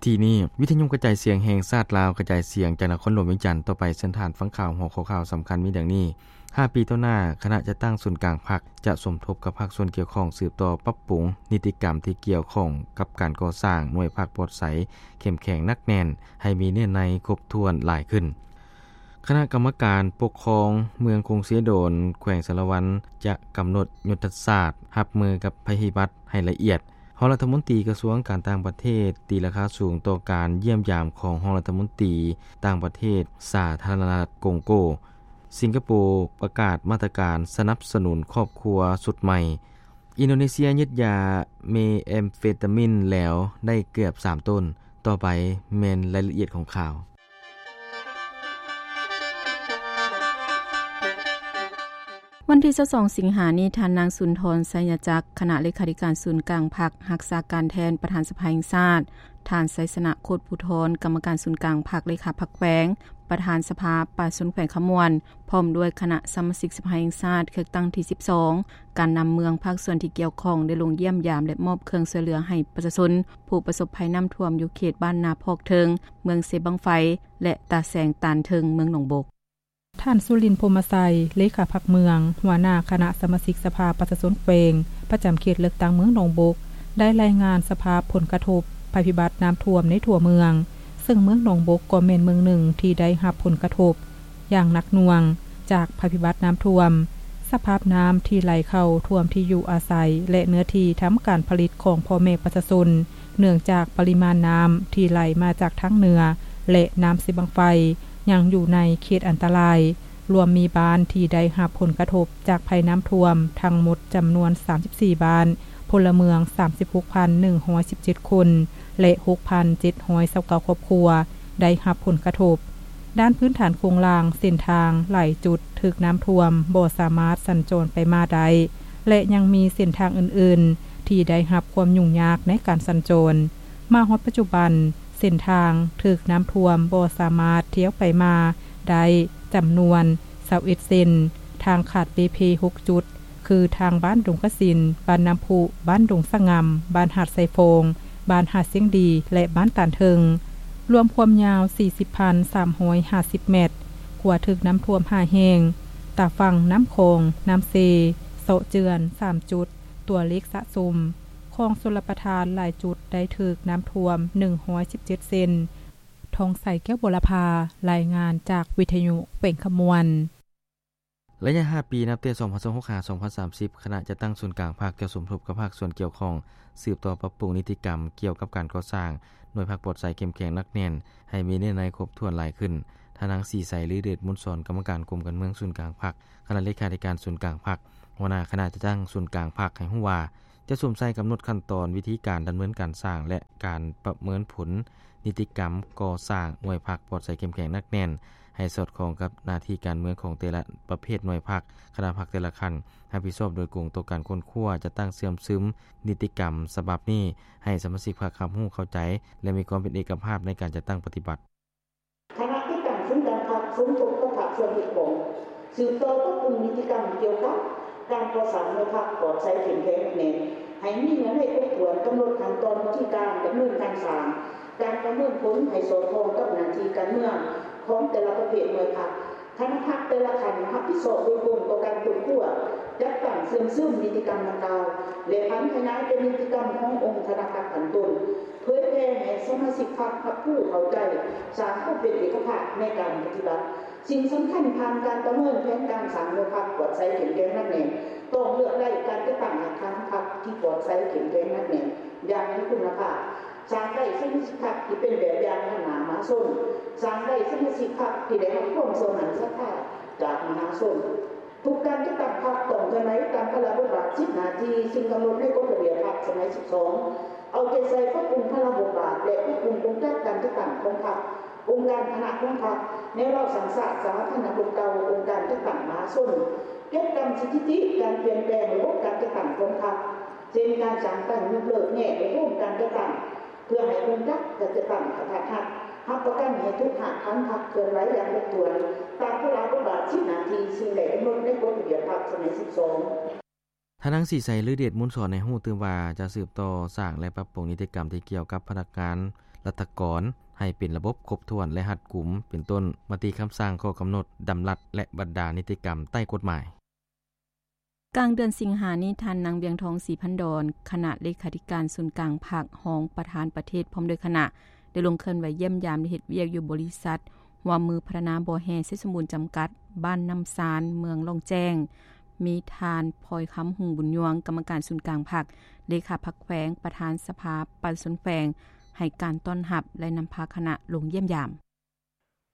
ທີ່ນີ້ ວິທະຍຸກະຈາຍສຽງແຫ່ງຊາດລາວ ກະຈາຍສຽງຈາກນະຄອນຫຼວງວຽງຈັນຕໍ່ໄປ. ເຊີນທ່ານຟັງຂ່າວ. ຫົວຂໍ້ຂ່າວສຳຄັນມີດັ່ງນີ້: ຫ້າປີຕໍ່ໜ້າ, ຄະນະຈັດຕັ້ງສູນກາງພັກ ຈະສົມທົບກັບພາກສ່ວນກ່ຽວຂ້ອງ ສືບຕໍ່ປັບປຸງນິຕິກຳທີ່ກ່ຽວຂ້ອງກັບການກໍ່ສ້າງໜ່ວຍພັກປອດໃສ ເຂັ້ມແຂງໜັກແໜ້ນ ໃຫ້ມີເນື້ອໃນຄົບຖ້ວນຫຼາຍຂຶ້ນ. ຄະນະກຳມະການປົກຄອງເມືອງກົງເຊໂດນ ແຂວງສາລະວັນ ຈະກຳນົດຍຸດທະສາດຮັບມືກັບໄພພິບັດໃຫ້ລະອຽດ. ຮອງລັດຖະມົນຕີກະຊວງການຕ່າງປະເທດຕີລາຄາສູງຕໍ່ການຢ້ຽມຢາມຂອງຮອງລັດຖະມົນຕີຕ່າງປະເທດສາທາລະນະລັດກົງໂກ. ສິງກະໂປປະກາດມາດຕະການສະໜັບສະໜູນຄອບຄົວຊຸດໃໝ່. ອິນໂດເນເຊຍຍຶດຢາເມແອມເຟຕາມິນແລ້ວໄດ້ເກືອບສາມໂຕນ. ຕໍ່ໄປແມ່ນລາຍລະອຽດຂອງຂ່າວ. ວັນທີຊາວສອງ ສິງຫານີ້, ທ່ານນາງ ສຸນທອນ ໄຊຍະຈັກ ຄະນະເລຂາທິການສູນກາງພັກ, ຮັກສາການແທນປະທານສະພາແຫ່ງຊາດ, ທ່ານ ໄຊຊະນະ ໂຄດພູທອນ ກຳມະການສູນກາງພັກ, ເລຂາພັກແຂວງ, ປະທານສະພາປະຊາຊົນແຂວງຄຳມ່ວນ, ພ້ອມດ້ວຍຄະນະສະມາຊິກສະພາແຫ່ງຊາດ ເຂດຕັ້ງທີສິບສອງ, ການນຳເມືອງ, ພາກສ່ວນທີ່ກ່ຽວຂ້ອງ ໄດ້ລົງຢ້ຽມຢາມ ແລະ ມອບເຄື່ອງຊ່ວຍເຫຼືອໃຫ້ປະຊາຊົນຜູ້ປະສົບໄພນ້ຳຖ້ວມ ຢູ່ເຂດບ້ານນາພອກເທິງ, ເມືອງເຊບັ້ງໄຟ ແລະ ຕາແສງຕານເທິງ, ເມືອງໜອງບົກ. ທ່ານ ສຸລິນ ພົມມະໄຊ ເລຂາພັກເມືອງ, ຫົວໜ້າຄະນະສະມາຊິກສະພາປະຊາຊົນແຂວງ ປະຈຳເຂດເລືອກຕັ້ງເມືອງໜອງບົກ ໄດ້ລາຍງານສະພາບຜົນກະທົບໄພພິບັດນ້ຳຖ້ວມໃນທົ່ວເມືອງ, ເຊິ່ງເມືອງໜອງບົກກໍແມ່ນເມືອງໜຶ່ງທີ່ໄດ້ຮັບຜົນກະທົບຢ່າງໜັກໜ່ວງຈາກໄພພິບັດນ້ຳຖ້ວມ. ສະພາບນ້ຳທີ່ໄຫຼເຂົ້າຖ້ວມທີ່ຢູ່ອາໄສ ແລະ ເນື້ອທີ່ທຳການຜະລິດຂອງພໍ່ແມ່ປະຊາຊົນ, ເນື່ອງຈາກປະລິມານນ້ຳທີ່ໄຫຼມາຈາກທາງເໜືອ ແລະ ນ້ຳເຊບັ້ງໄຟ ຍັງຢູ່ໃນເຂດອັນຕະລາຍ, ລວມມີບ້ານທີ່ໄດ້ຮັບຜົນກະທົບຈາກໄພນ້ຳຖ້ວມທັງໝົດຈຳນວນສາມສິບສີ່ບ້ານ, ພົນລະເມືອງສາມສິບຫົກພັນໜຶ່ງຮ້ອຍສິບເຈັດຄົນ ແລະ ຫົກພັນເຈັດຮ້ອຍຊາວເກົ້າຄອບຄົວໄດ້ຮັບຜົນກະທົບ. ດ້ານພື້ນຖານໂຄງລ່າງ, ເສັ້ນທາງຫຼາຍຈຸດຖືກນ້ຳຖ້ວມ, ບໍ່ສາມາດສັນຈອນໄປມາໄດ້ ແລະ ຍັງມີເສັ້ນທາງອື່ນໆທີ່ໄດ້ຮັບຄວາມຫຍຸ້ງຍາກໃນການສັນຈອນ. ມາຮອດປັດຈຸບັນ, ເສັ້ນທາງຖືກນ້ຳຖ້ວມ, ບໍ່ສາມາດທຽວໄປມາໄດ້ຈຳນວນຊາວເອັດເສັ້ນ, ທາງຂາດເປ່ເພຫົກຈຸດ ຄືທາງບ້ານດົງກະສິນ, ບ້ານນ້ຳພຸ, ບ້ານດົງສະຫງ່ຳ, ບ້ານຫາດໄຊຟອງ, ບ້ານຫາດຊຽງດີ ແລະ ບ້ານຕານເທິງ, ລວມຄວາມຍາວສີ່ສິບພັນສາມຮ້ອຍຫ້າສິບແມັດ, ຂົວຖືກນ້ຳຖ້ວມຫ້າແຫ່ງ, ຕາຝັ່ງນ້ຳຂອງ, ນ້ຳເຊ, ເຊາະເຈື່ອນສາມຈຸດ, ຕົວເລກສະສົມຂອງຊົນລະປະທານຫຼາຍຈຸດໄດ້ຖືກນ້ຳຖ້ວມໜຶ່ງຮ້ອຍສິບເຈັດເຊັນ. ທອງໃສ ແກ້ວບົວລະພາ, ລາຍງານຈາກວິທະຍຸແຂວງຄຳມ່ວນ. ໄລຍະຫ້າປີ ນັບແຕ່ສອງພັນຊາວຫົກ ຫາ ສອງພັນສາມສິບ, ຄະນະຈັດຕັ້ງສູນກາງພັກຈະສົມທົບກັບພາກສ່ວນກ່ຽວຂ້ອງ ສືບຕໍ່ປັບປຸງນິຕິກຳກ່ຽວກັບການກໍ່ສ້າງໜ່ວຍພັກປອດໃສເຂັ້ມແຂງໜັກແໜ້ນ ໃຫ້ມີເນື້ອໃນຄົບຖ້ວນຫຼາຍຂຶ້ນ. ທ່ານນາງ ສີໃສ ລືເດດມຸນສອນ ກຳມະການກົມການເມືອງສູນກາງພັກ, ຄະນະເລຂາທິການສູນກາງພັກ, ຫົວໜ້າຄະນະຈັດຕັ້ງສູນກາງພັກ ໃຫ້ຮູ້ວ່າ ຈະສຸມໃສ່ກຳນົດຂັ້ນຕອນ, ວິທີການດຳເນີນການສ້າງ ແລະ ການປະເມີນຜົນນິຕິກຳກໍ່ສ້າງໜ່ວຍພັກປອດໃສເຂັ້ມແຂງໜັກແໜ້ນ ໃຫ້ສອດຄ່ອງກັບໜ້າທີ່ການເມືອງຂອງແຕ່ລະປະເພດໜ່ວຍພັກ, ຄະນະພັກແຕ່ລະຂັ້ນ ຮັບຜິດຊອບໂດຍກົງຕໍ່ການຄົ້ນຄວ້າ, ຈັດຕັ້ງເຊື່ອມຊຶມນິຕິກຳສະບັບນີ້ ໃຫ້ສະມາຊິກພັກຮັບຮູ້ເຂົ້າໃຈ ແລະ ມີຄວາມເປັນເອກະພາບໃນການຈັດຕັ້ງປະຕິບັດ. ຄະນະຈັດຕັ້ງສູນກາງພັກສົມທົບກັບພາກສ່ວນກ່ຽວຂ້ອງ ສືບຕໍ່ປັບປຸງນິຕິກຳກ່ຽວກັບການກໍ່ສ້າງໜ່ວຍພັກປອດໃສເຂັ້ມແຂງໜັກແໜ້ນ ໃຫ້ມີເນື້ອໃນຄົບຖ້ວນ, ກຳນົດຂັ້ນຕອນ, ວິທີການດຳເນີນການສ້າງ, ການປະເມີນຜົນໃຫ້ສອດຄ່ອງກັບໜ້າທີ່ການເມືອງຂອງແຕ່ລະປະເພດໜ່ວຍພັກ. ຄະນະພັກແຕ່ລະຂັ້ນຮັບຜິດຊອບໂດຍກົງຕໍ່ການຄົ້ນຄວ້າ, ຈັດຕັ້ງເຊື່ອມຊຶມນິຕິກຳດັ່ງກ່າວ ແລະ ຜັນຂະຫຍາຍເປັນນິຕິກຳຂອງອົງຄະນະພັກຂັ້ນຕົ້ນ, ເຜີຍແຜ່ໃຫ້ສະມາຊິກພັກຮັບຮູ້ເຂົ້າໃຈ, ສ້າງຄວາມເປັນເອກະພາບໃນການປະຕິບັດ. ສິ່ງສຳຄັນ, ຜ່ານການປະເມີນແຜນການສ້າງໜ່ວຍພັກປອດໃສເຂັ້ມແຂງໜັກແໜ້ນ, ຕ້ອງເລືອກໄດ້ການຈັດຕັ້ງຮາກຖານພັກທີ່ປອດໃສເຂັ້ມແຂງໜັກແໜ້ນຢ່າງມີຄຸນນະພາບ, ສ້າງໄດ້ສະມາຊິກພັກທີ່ເປັນແບບຢ່າງນຳໜ້າມະຫາຊົນ, ສ້າງໄດ້ສະມາຊິກພັກທີ່ໄດ້ຮັບຄວາມເຊື່ອໝັ້ນສັດທາຈາກມະຫາຊົນ. ທຸກການຈັດຕັ້ງພັກຕ້ອງເຄື່ອນໄຫວຕາມພາລະບົດບາດ, ສິດ, ໜ້າທີ່ ສິ່ງກຳນົດໃນກົດລະບຽບພັກສະໄໝສິບສອງ, ເອົາໃຈໃສ່ປັບປຸງພາລະບົດບາດ ແລະ ປັບປຸງກົງຈັກການຈັດຕັ້ງຂອງພັກ, ອົງການຄະນະຂອງພັກ, ແນວລາວສ້າງຊາດ, ສາທາລະນະກົມເກົ່າ, ອົງການຈັດຕັ້ງມະຫາຊົນ, ເກັບກຳສະຖິຕິການປ່ຽນແປງລະບົບການຈັດຕັ້ງຂອງພັກ, ເຊັ່ນ ການສ້າງຕັ້ງ, ຍົກເລີກ, ແຍກ ແລະ ໂຮມການຈັດຕັ້ງ ເພື່ອໃຫ້ອົງຈັກການຈັດຕັ້ງກະທັດຮັດ, ຮັບປະກັນໃຫ້ທຸກຮາກຖານພັກເຄື່ອນໄຫວຢ່າງຄົບຖ້ວນ ຕາມພາລະບົດບາດ, ສິດ, ໜ້າທີ່ ສິ່ງໄດ້ກຳນົດໃນກົດລະບຽບພັກສະໄໝສິບສອງ. ທ່ານນາງ ສີໄຊ ລືເດດມູນສອນ ໃຫ້ຮູ້ຕື່ມວ່າ ຈະສືບຕໍ່ສ້າງ ແລະ ປັບປຸງນິຕິກຳທີ່ກ່ຽວກັບພະນັກງານລັດຖະກອນ ໃຫ້ເປັນລະບົບຄົບຖ້ວນ ແລະ ຮັດກຸມ ເປັນຕົ້ນ ມະຕິຄຳສັ່ງ, ຂໍ້ກຳນົດ, ດຳລັດ ແລະ ບັນດານິຕິກຳໃຕ້ກົດໝາຍ. ກາງເດືອນສິງຫານີ້, ທ່ານນາງ ວຽງທອງ ສີພັນດອນ ຄະນະເລຂາທິການສູນກາງພັກ, ຮອງປະທານປະເທດ ພ້ອມດ້ວຍຄະນະ ໄດ້ລົງເຄື່ອນໄຫວຢ້ຽມຢາມ ແລະ ເຮັດວຽກຢູ່ບໍລິສັດຮ່ວມມືພັດທະນາບໍ່ແຮ່ໄຊສົມບູນຈຳກັດ ບ້ານນ້ຳຊານ ເມືອງລ່ອງແຈ້ງ, ມີທ່ານ ພອຍຄຳ ຮຸ່ງບຸນຍວງ ກຳມະການສູນກາງພັກ, ເລຂາພັກແຂວງ, ປະທານສະພາປະຊາຊົນແຂວງ ໃຫ້ການຕ້ອນຮັບ ແລະ ນຳພາຄະນະລົງຢ້ຽມຢາມ.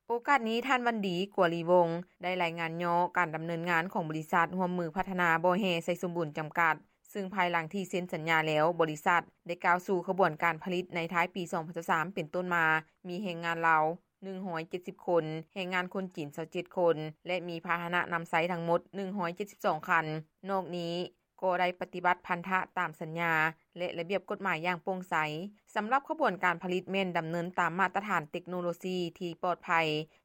ໂອກາດນີ້, ທ່ານ ວັນດີ ກົວລີວົງ ໄດ້ລາຍງານຫຍໍ້ການດຳເນີນງານຂອງບໍລິສັດຮ່ວມມືພັດທະນາບໍ່ແຮ່ໄຊສົມບູນຈຳກັດ, ຊຶ່ງພາຍຫຼັງທີ່ເຊັນສັນຍາແລ້ວ, ບໍລິສັດໄດ້ກ້າວສູ່ຂະບວນການຜະລິດໃນທ້າຍປີສອງພັນຊາວສາມເປັນຕົ້ນມາ, ມີແຮງງານລາວໜຶ່ງຮ້ອຍເຈັດສິບຄົນ, ແຮງງານຄົນຈີນຊາວເຈັດຄົນ ແລະ ມີພາຫະນະນຳໃຊ້ທັງໝົດໜຶ່ງຮ້ອຍເຈັດສິບສອງຄັນ. ນອກນີ້ກໍໄດ້ປະຕິບັດພັນທະຕາມສັນຍາ ແລະ ລະບຽບກົດໝາຍຢ່າງໂປ່ງໃສ. ສຳລັບຂະບວນການຜະລິດແມ່ນດຳເນີນຕາມມາດຕະຖານເຕັກໂນໂລຊີທີ່ປອດໄພ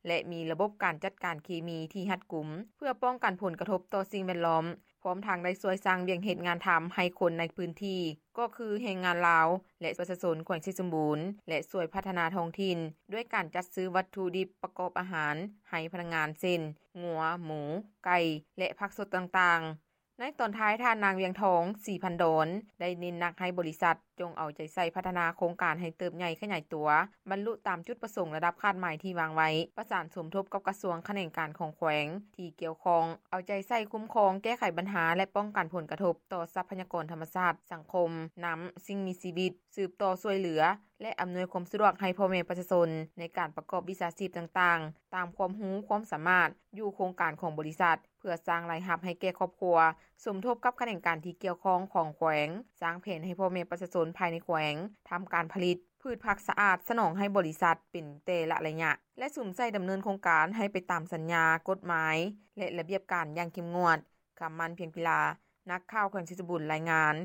ແລະ ມີລະບົບການຈັດການເຄມີທີ່ຮັດກຸມ ເພື່ອປ້ອງກັນຜົນກະທົບຕໍ່ສິ່ງແວດລ້ອມ, ພ້ອມທັງໄດ້ຊ່ວຍສ້າງວຽກເຮັດງານທຳໃຫ້ຄົນໃນພື້ນທີ່ ກໍຄືແຮງງານລາວ ແລະ ປະຊາຊົນແຂວງໄຊສົມບູນ ແລະ ຊ່ວຍພັດທະນາທ້ອງຖິ່ນ ດ້ວຍການຈັດຊື້ວັດຖຸດິບປະກອບອາຫານໃຫ້ພະນັກງານ ເຊັ່ນ ງົວ, ໝູ, ໄກ່ ແລະ ຜັກສົດຕ່າງໆ. ໃນຕອນທ້າຍ, ທ່ານນາງ ວຽງທອງ ສີພັນດອນ ໄດ້ເນັ້ນໜັກໃຫ້ບໍລິສັດ ຈົ່ງເອົາໃຈໃສ່ພັດທະນາໂຄງການໃຫ້ເຕີບໃຫຍ່ຂະຫຍາຍຕົວ, ບັນລຸຕາມຈຸດປະສົງລະດັບຄາດໝາຍທີ່ວາງໄວ້, ປະສານສົມທົບກັບກະຊວງຂະແໜງການຂອງແຂວງທີ່ກ່ຽວຂ້ອງ, ເອົາໃຈໃສ່ຄຸ້ມຄອງ, ແກ້ໄຂບັນຫາ ແລະ ປ້ອງກັນຜົນກະທົບຕໍ່ຊັບພະຍາກອນທຳມະຊາດ, ສັງຄົມ, ນ້ຳ, ສິ່ງມີຊີວິດ, ສືບຕໍ່ຊ່ວຍເຫຼືອ ແລະ ອຳນວຍຄວາມສະດວກໃຫ້ພໍ່ແມ່ປະຊາຊົນໃນການປະກອບວິຊາຊີບຕ່າງໆ ຕາມຄວາມຮູ້ຄວາມສາມາດ ຢູ່ໂຄງການຂອງບໍລິສັດ ເພື່ອສ້າງລາຍຮັບໃຫ້ແກ່ຄອບຄົວ, ສົມທົບກັບຂະແໜງການທີ່ກ່ຽວຂ້ອງຂອງແຂວງ, ສ້າງແຜນໃຫ້ພໍ່ແມ່ປະຊາຊົນພາຍໃນແຂວງທຳການຜະລິດພືດຜັກສະອາດສະໜອງໃຫ້ບໍລິສັດເປັນແຕ່ລະໄລຍະ ແລະ ສຸມໃສ່ດຳເນີນໂຄງການໃຫ້ໄປຕາມສັນຍາ, ກົດໝາຍ ແລະ ລະບຽບການຢ່າງເຂັ້ມງວດ. ຄຳໝັ້ນ ພຽງພິລາ, ນັກຂ່າວແຂວງໄຊສົມບູນ ລາຍງານ.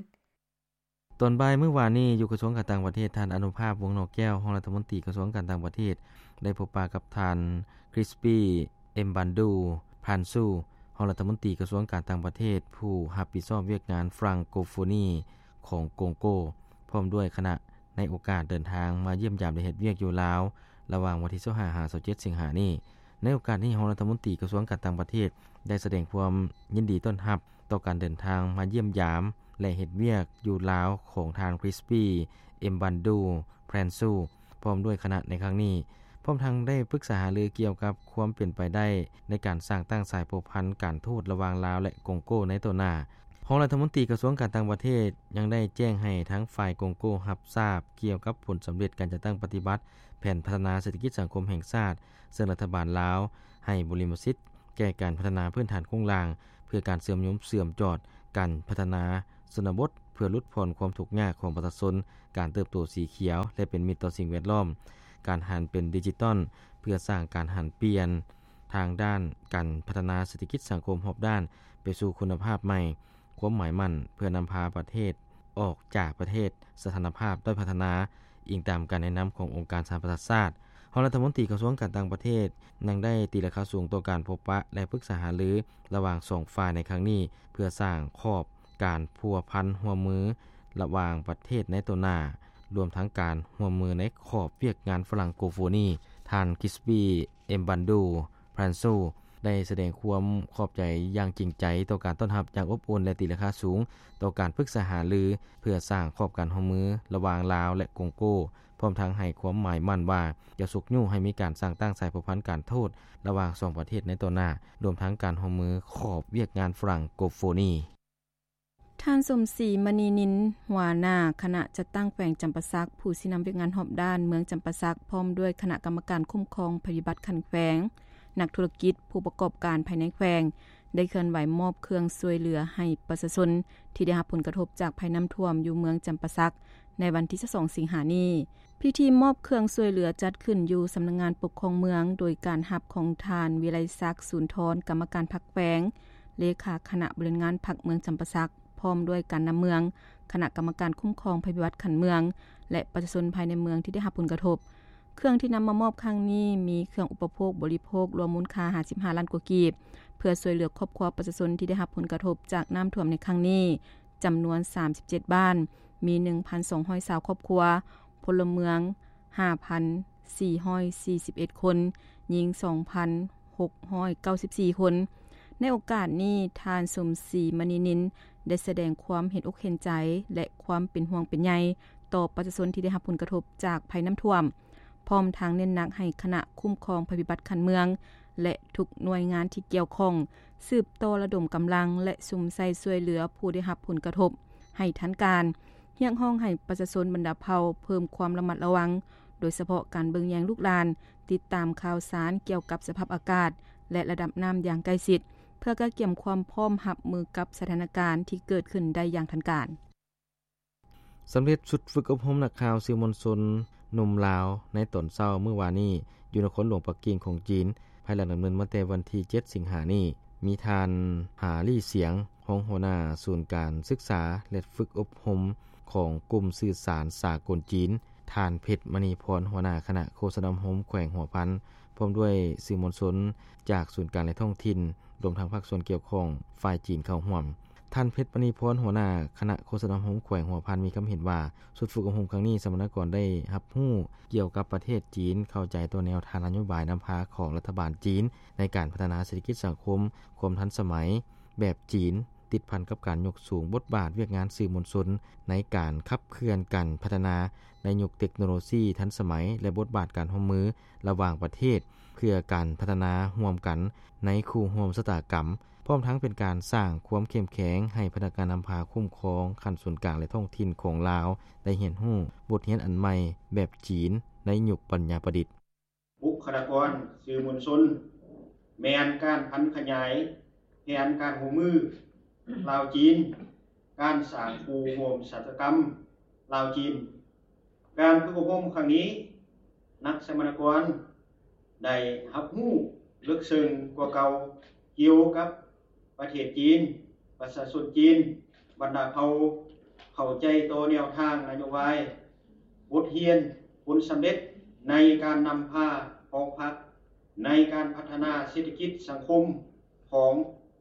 ຕອນບ່າຍມື້ວານນີ້, ຢູ່ກະຊວງການຕ່າງປະເທດ, ທ່ານ ອະນຸພາບ ວົງໜໍ່ແກ້ວ ຮອງລັດຖະມົນຕີກະຊວງການຕ່າງປະເທດ ໄດ້ພົບປະກັບທ່ານ ຄຣິສປີ ເອັມບັນດູ ພຣານຊູ ຮອງລັດຖະມົນຕີກະຊວງການຕ່າງປະເທດ ຜູ້ຮັບຜິດຊອບວຽກງານຝຣັ່ງໂກໂຟນີຂອງກົງໂກ ພ້ອມດ້ວຍຄະນະ ໃນໂອກາດເດີນທາງມາຢ້ຽມຢາມ ແລະ ເຮັດວຽກຢູ່ລາວ ລະຫວ່າງວັນທີຊາວຫ້າ ຫາ ຊາວເຈັດ ສິງຫານີ້. ໃນໂອກາດນີ້, ຮອງລັດຖະມົນຕີກະຊວງການຕ່າງປະເທດ ໄດ້ສະແດງຄວາມຍິນດີຕ້ອນຮັບຕໍ່ການເດີນທາງມາຢ້ຽມຢາມ ແລະ ເຮັດວຽກຢູ່ລາວຂອງທ່ານ ຄຣິສປີ ເອັມບັນດູ ພຣານຊູ ພ້ອມດ້ວຍຄະນະໃນຄັ້ງນີ້, ພ້ອມທັງໄດ້ປຶກສາຫາລືກ່ຽວກັບຄວາມເປັນໄປໄດ້ໃນການສ້າງຕັ້ງສາຍພົວພັນການທູດລະຫວ່າງລາວ ແລະ ກົງໂກໃນຕໍ່ໜ້າ. ຮອງລັດຖະມົນຕີກະຊວງການຕ່າງປະເທດຍັງໄດ້ແຈ້ງໃຫ້ທາງຝ່າຍກົງໂກຮັບຊາບກ່ຽວກັບຜົນສຳເລັດການຈັດຕັ້ງປະຕິບັດແຜນພັດທະນາເສດຖະກິດສັງຄົມແຫ່ງຊາດ, ເຊິ່ງລັດຖະບານລາວໃຫ້ບູລິມະສິດແກ່ການພັດທະນາພື້ນຖານໂຄງລ່າງ ເພື່ອການເຊື່ອມໂຍງເຊື່ອມຈອດການພັດທະນາຊົນນະບົດ ເພື່ອຫຼຸດຜ່ອນຄວາມທຸກຍາກຂອງປະຊາຊົນ, ການເຕີບໂຕສີຂຽວ ແລະ ເປັນມິດຕໍ່ສິ່ງແວດລ້ອມ, ການຫັນເປັນດິຈິຕອນ ເພື່ອສ້າງການຫັນປ່ຽນທາງດ້ານການພັດທະນາເສດຖະກິດສັງຄົມຮອບດ້ານໄປສູ່ຄຸນນະພາບໃໝ່, ຄວາມໝາຍໝັ້ນເພື່ອນຳພາປະເທດອອກຈາກປະເທດສະຖານະພາບດ້ອຍພັດທະນາ, ອີງຕາມການແນະນຳຂອງອົງການສະຫະປະຊາຊາດ. ຮອງລັດຖະມົນຕີກະຊວງການຕ່າງປະເທດຍັງໄດ້ຕີລາຄາສູງຕໍ່ການພົບປະ ແລະ ປຶກສາຫາລືລະຫວ່າງສອງຝ່າຍໃນຄັ້ງນີ້ ເພື່ອສ້າງຂອບການພົວພັນຮ່ວມມືລະຫວ່າງປະເທດໃນຕໍ່ໜ້າ, ລວມທັງການຮ່ວມມືໃນຂອບວຽກງານຝຣັ່ງໂກໂຟນີ. ທ່ານ ຄຣິສປີ ເອັມບັນດູ ພຣານຊູ ໄດ້ສະແດງຄວາມຂອບໃຈຢ່າງຈິງໃຈຕໍ່ການຕ້ອນຮັບຢ່າງອົບອຸ່ນ ແລະ ຕີລາຄາສູງຕໍ່ການປຶກສາຫາລື ເພື່ອສ້າງຂອບການຮ່ວມມືລະຫວ່າງລາວ ແລະ ກົງໂກ, ພ້ອມທັງໃຫ້ຄວາມໝາຍໝັ້ນວ່າຈະຊຸກຍູ້ໃຫ້ມີການສ້າງຕັ້ງສາຍພົວພັນການທູດລະຫວ່າງສອງປະເທດໃນຕໍ່ໜ້າ, ລວມທັງການຮ່ວມມືຂອບວຽກງານຝຣັ່ງໂກໂຟນີ. ທ່ານ ສົມສີ ມະນີນິນ ຫົວໜ້າຄະນະຈັດຕັ້ງແຂວງຈຳປາສັກ, ຜູ້ຊີ້ນຳວຽກງານຮອບດ້ານເມືອງຈຳປາສັກ, ພ້ອມດ້ວຍຄະນະກຳມະການຄຸ້ມຄອງໄພພິບັດຂັ້ນແຂວງ, ນັກທຸລະກິດ, ຜູ້ປະກອບການພາຍໃນແຂວງ ໄດ້ເຄື່ອນໄຫວມອບເຄື່ອງຊ່ວຍເຫຼືອໃຫ້ປະຊາຊົນທີ່ໄດ້ຮັບຜົນກະທົບຈາກໄພນ້ຳຖ້ວມຢູ່ເມືອງຈຳປາສັກ ໃນວັນທີຊາວສອງ ສິງຫານີ້. ພິທີມອບເຄື່ອງຊ່ວຍເຫຼືອຈັດຂຶ້ນຢູ່ສຳນັກງານປົກຄອງເມືອງ, ໂດຍການຮັບຂອງທ່ານ ວິໄລສັກ ສູນທອນ ກຳມະການພັກແຂວງ, ເລຂາຄະນະບໍລິຫານງານພັກເມືອງຈຳປາສັກ, ພ້ອມດ້ວຍການນຳເມືອງ, ຄະນະກຳມະການຄຸ້ມຄອງໄພພິບັດຂັ້ນເມືອງ ແລະ ປະຊາຊົນພາຍໃນເມືອງທີ່ໄດ້ຮັບຜົນກະທົບ. ເຄື່ອງທີ່ນຳມາມອບຄັ້ງນີ້ ມີເຄື່ອງອຸປະໂພກບໍລິໂພກ ລວມມູນຄ່າຫ້າສິບຫ້າລ້ານກວ່າກີບ ເພື່ອຊ່ວຍເຫຼືອຄອບຄົວປະຊາຊົນທີ່ໄດ້ຮັບຜົນກະທົບຈາກນ້ຳຖ້ວມໃນຄັ້ງນີ້ ຈຳນວນສາມສິບເຈັດບ້ານ, ມີໜຶ່ງພັນສອງຮ້ອຍຊາວຄອບຄົວ, ພົນລະເມືອງຫ້າພັນສີ່ຮ້ອຍສີ່ສິບເອັດຄົນ, ຍິງສອງພັນຫົກຮ້ອຍເກົ້າສິບສີ່ຄົນ. ໃນໂອກາດນີ້, ທ່ານ ສົມສີ ມະນີນິນ ໄດ້ສະແດງຄວາມເຫັນອົກເຫັນໃຈ ແລະ ຄວາມເປັນຫ່ວງເປັນໃຍຕໍ່ປະຊາຊົນທີ່ໄດ້ຮັບຜົນກະທົບຈາກໄພນ້ຳຖ້ວມ, ພ້ອມທັງເນັ້ນໜັກໃຫ້ຄະນະຄຸ້ມຄອງໄພພິບັດຂັ້ນເມືອງ ແລະ ທຸກໜ່ວຍງານທີ່ກ່ຽວຂ້ອງ ສືບຕໍ່ລະດົມກຳລັງ ແລະ ສຸມໃສ່ຊ່ວຍເຫຼືອຜູ້ໄດ້ຮັບຜົນກະທົບໃຫ້ທັນການ, ຮຽກຮ້ອງໃຫ້ປະຊາຊົນບັນດາເຜົ່າເພີ່ມຄວາມລະມັດລະວັງ, ໂດຍສະເພາະການເບິ່ງແຍງລູກຫຼານ, ຕິດຕາມຂ່າວສານກ່ຽວກັບສະພາບອາກາດ ແລະ ລະດັບນ້ຳຢ່າງໃກ້ຊິດ ເພື່ອກະກຽມຄວາມພ້ອມຮັບມືກັບສະຖານະການທີ່ເກີດຂຶ້ນໄດ້ຢ່າງທັນການ. ສຳເລັດຊຸດຝຶກອົບຮົມນັກຂ່າວສື່ມວນຊົນໜຸ່ມລາວໃນຕອນເຊົ້າມື້ວານນີ້ ຢູ່ນະຄອນຫຼວງປັກກິ່ງຂອງຈີນ, ພາຍຫຼັງດຳເນີນມາແຕ່ວັນທີເຈັດສິງຫານີ້, ມີທ່ານ ຫາ ລີ້ສຽງ ຮອງຫົວໜ້າສູນການສຶກສາ ແລະ ຝຶກອົບຮົມຂອງກຸ່ມສື່ສານສາກົນຈີນ, ທ່ານ ເພັດ ມະນີພອນ ຫົວໜ້າຄະນະໂຄສະນາອົບຮົມແຂວງຫົວພັນ ພ້ອມດ້ວຍສື່ມວນຊົນຈາກສູນກາງ ແລະ ທ້ອງຖິ່ນ, ລວມທັງພາກສ່ວນກ່ຽວຂ້ອງຝ່າຍຈີນເຂົ້າຮ່ວມ. ທ່ານ ເພັດ ມະນີພອນ ຫົວໜ້າຄະນະໂຄສະນາອົບຮົມແຂວງຫົວພັນ ມີຄຳເຫັນວ່າ ຊຸດຝຶກອົບຮົມຄັ້ງນີ້ ສຳມະນາກອນໄດ້ຮັບຮູ້ກ່ຽວກັບປະເທດຈີນ, ເຂົ້າໃຈຕໍ່ແນວທາງນະໂຍບາຍນຳພາຂອງລັດຖະບານຈີນ ໃນການພັດທະນາເສດຖະກິດສັງຄົມ, ຄວາມທັນສະໄໝແບບຈີນ, ຕິດພັນກັບການຍົກສູງບົດບາດວຽກງານສື່ມວນຊົນ ໃນການຂັບເຄື່ອນການພັດທະນາໃນຍຸກເຕັກໂນໂລຊີທັນສະໄໝ ແລະ ບົດບາດການຮ່ວມມືລະຫວ່າງປະເທດ ເພື່ອການພັດທະນາຮ່ວມກັນໃນຄູ່ຮ່ວມຊະຕາກຳ, ພ້ອມທັງເປັນການສ້າງຄວາມເຂັ້ມແຂງໃຫ້ພະນັກງານນຳພາຄຸ້ມຄອງຂັ້ນສູນກາງ ແລະ ທ້ອງຖິ່ນຂອງລາວ ໄດ້ຮຽນຮູ້ບົດຮຽນອັນໃໝ່ແບບຈີນໃນຍຸກປັນຍາປະດິດ. ບຸກຄະລາກອນສື່ມວນຊົນ ແມ່ນການຜັນຂະຫຍາຍແຜນການຮ່ວມມືລາວ-ຈີນ, ການສ້າງຄູ່ຮ່ວມຊະຕາກຳລາວ-ຈີນ. ການຝຶກອົບຮົມຄັ້ງນີ້, ນັກສຳມະນາກອນໄດ້ຮັບຮູ້ເລິກເຊິ່ງກວ່າເກົ່າກ່ຽວກັບ ປະເທດຈີນ, ປະຊາຊົນຈີນ, ບັນດາເຜົ່າ ເຂົ້າໃຈຕໍ່ແນວທາງນະໂຍບາຍ, ບົດຮຽນ, ຜົນສຳເລັດໃນການນຳພາຂອງພັກ, ໃນການພັດທະນາເສດຖະກິດສັງຄົມຂອງ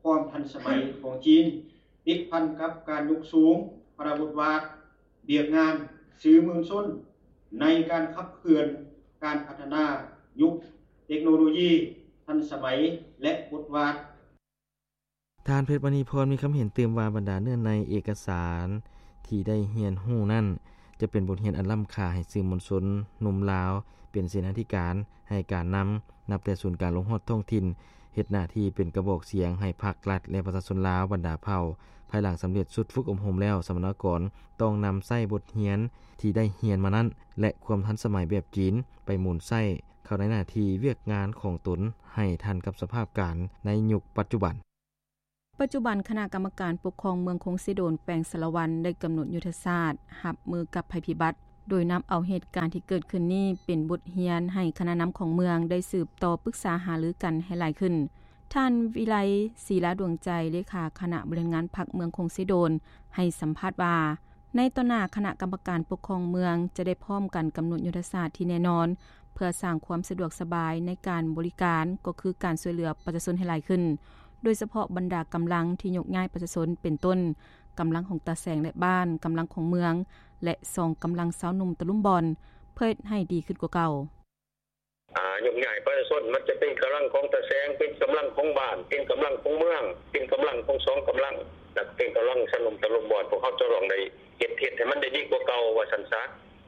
ຄວາມທັນສະໄໝຂອງຈີນ, ຕິດພັນກັບການຍົກສູງພາລະບົດບາດວຽກງານສື່ມວນຊົນ ໃນການຂັບເຄື່ອນການພັດທະນາຍຸກເຕັກໂນໂລຢີທັນສະໄໝ ແລະ ບົດບາດ ທ່ານ ເພັດ ມະນີພອນ ມີຄຳເຫັນຕື່ມວ່າ ບັນດາເນື້ອໃນເອກະສານທີ່ໄດ້ຮຽນຮູ້ນັ້ນ ຈະເປັນບົດຮຽນອັນລ້ຳຄ່າໃຫ້ສື່ມວນຊົນໜຸ່ມລາວ ເປັນເສນາທິການໃຫ້ການນຳ, ນັບແຕ່ສູນກາງລົງຮອດທ້ອງຖິ່ນ, ເຮັດໜ້າທີ່ເປັນກະບອກສຽງໃຫ້ພັກ, ລັດ ແລະ ປະຊາຊົນລາວບັນດາເຜົ່າ. ພາຍຫຼັງສຳເລັດຊຸດຝຶກອົບຮົມແລ້ວ, ສຳມະນາກອນຕ້ອງນຳໃຊ້ບົດຮຽນທີ່ໄດ້ຮຽນມານັ້ນ ແລະ ຄວາມທັນສະໄໝແບບຈີນ ໄປໝູນໃຊ້ເຂົ້າໃນໜ້າທີ່ວຽກງານຂອງຕົນ ໃຫ້ທັນກັບສະພາບການໃນຍຸກປັດຈຸບັນ. ປັດຈຸບັນ, ຄະນະກຳມະການປົກຄອງເມືອງຄົງເຊໂດນ ແຂວງສາລະວັນ ໄດ້ກຳນົດຍຸດທະສາດຮັບມືກັບໄພພິບັດ, ໂດຍນຳເອົາເຫດການທີ່ເກີດຂຶ້ນນີ້ເປັນບົດຮຽນໃຫ້ຄະນະນຳຂອງເມືອງໄດ້ສືບຕໍ່ປຶກສາຫາລືກັນໃຫ້ຫຼາຍຂຶ້ນ. ທ່ານ ວິໄລ ສີລາດວງໃຈ ເລຂາຄະນະບໍລິຫານງານພັກເມືອງຄົງເຊໂດນ ໃຫ້ສຳພາດວ່າ, ໃນຕໍ່ໜ້າຄະນະກຳມະການປົກຄອງເມືອງຈະໄດ້ພ້ອມກັນກຳນົດຍຸດທະສາດທີ່ແນ່ນອນ ເພື່ອສ້າງຄວາມສະດວກສະບາຍໃນການບໍລິການ ກໍຄືການຊ່ວຍເຫຼືອປະຊາຊົນໃຫ້ຫຼາຍຂຶ້ນ, ໂດຍສະເພາະບັນດາກຳລັງທີ່ຍົກຍ້າຍປະຊາຊົນ ເປັນຕົ້ນ ກຳລັງຂອງຕາແສງ ແລະ ບ້ານ, ກຳລັງຂອງເມືອງ ແລະ ສອງ ກຳລັງຊາວໜຸ່ມຕະລຸມບ່ອນ ເພື່ອເຮັດໃຫ້ດີຂຶ້ນກວ່າເກົ່າ. ອາ ຍົກຍ້າຍປະຊາຊົນ ມັນຈະເປັນກຳລັງຂອງຕາແສງ, ເປັນກຳລັງຂອງບ້ານ, ເປັນກຳລັງຂອງເມືອງ, ເປັນກຳລັງຂອງສອງກຳລັງ ແລະ ເປັນກຳລັງຊາວໜຸ່ມຕະລຸມບ່ອນ. ພວກເຮົາຈະຕ້ອງໄດ້ເຮັດ, ເຮັດໃຫ້ມັນໄດ້ດີກວ່າເກົ່າ ວ່າຊັ້ນຊະ